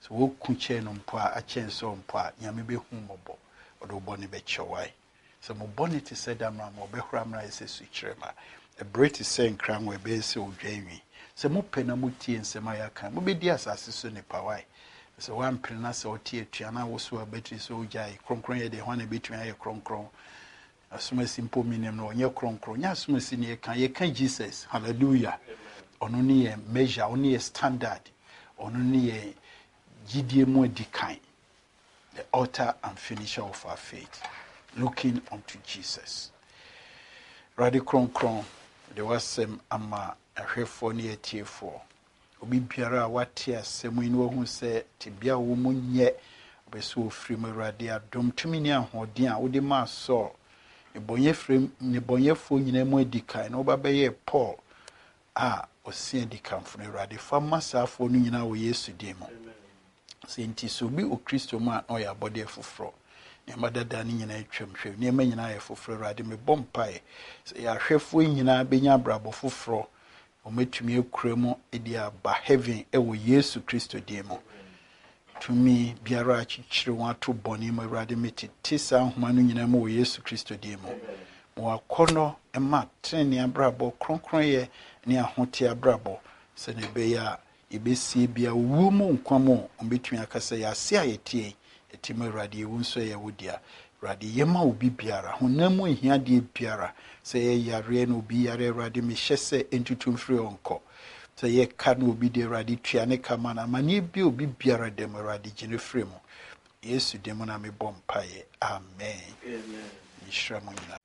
Sɛ woku kyɛn no mpo a, akyɛn Saul mpo a, Nyame bɛhu mmɔbɔ. Ɔde wo bɔne bɛkyɛ wo, why? Sɛ mo bɔne te sɛ damena ma ɔbɛhora mmra ayɛ sɛ sukyerɛmma, ɛbere te sɛ nkrango a ɛbɛyɛ sɛ odwa nwi. Sɛ mopɛ na mutie nsɛm a yɛaka a, mubedi asase so nnepa. Wai? Na sɛ woampene na sɛ ɔte atua na wosow abatiri sɛ ogyae kronkronyɛ deɛ, hwan na ebetumi ayɛ kronkron? Asomasi mpo menim no, ɔnyɛ kronkron. Nyɛ asomasi na yɛka, yɛka Jesus. Hallelujah. Ɔno ne yɛn measure, ɔno ne yɛn standard, ɔno ne yɛn gyidie mu adikan. The author and finisher of our faith, looking unto Jesus. Awurade kronkron, de w'asɛm ama ahwɛfoɔ ne atiefoɔ. Obi biara a wate asɛm yi na wahu sɛ tebea a wɔwɔ mu nyɛ, ɔpɛ sɛ ɔfiri mu. Awurade, adom, tumi ne ahoɔden a wode maa Saul, nnebɔneyɛfoɔ nyinaa mu adi kan, na woba bɛyɛɛ Paul a ɔse adikanfo no. Awurade, fa ma saa afoɔ no nyinaa wɔ Yesu din mu. Sɛ nti, sɛ obi wɔ Kristo mu a, na ɔyɛ abɔdeɛ foforɔ. Nneɛma dada no nyinaa atwam. Hwɛ, nneɛma nyinaa ayɛ foforɔ. Awurade, mebɔ mpaeɛ sɛ yɛn ahwɛfoɔ nyinaa bɛnya abrabɔ foforɔ, na wɔatumi akura mu de aba heaven wɔ Yesu Kristo din mu. Tumi biara akyekyere wɔn ato bɔne mu, Awurade, metete saa nhoma no nyinaa mu wɔ Yesu Kristo din mu. Ma w'akɔnnɔ mma trenee abrabɔ, kronkronyɛ ne ahoteɛ abrabɔ, sɛnea ɛbɛyɛ a yɛbɛsie bia owuo mu nkwa mu wɔbɛtumi aka sɛ yɛase a yɛteɛ yi, yɛte mu Awurade, yɛwu nso ɛyɛ wo dea. Awurade, yɛ ma obi biara, honam mu ahiadeɛ biara, sɛ ɛyɛ yareɛ na obi yare, Awurade, mehyɛ sɛ ɛntutu mfiri hɔ nkɔ. Sɛ ɛyɛ ka na obi de, Awurade, tua ne ka ma no. Amanneɛ bi a obi biara da mu, Awurade, gye no firi mu. Yesu din mu na mebɔ mpaeɛ. Amen. Nhyira mo nyinaa.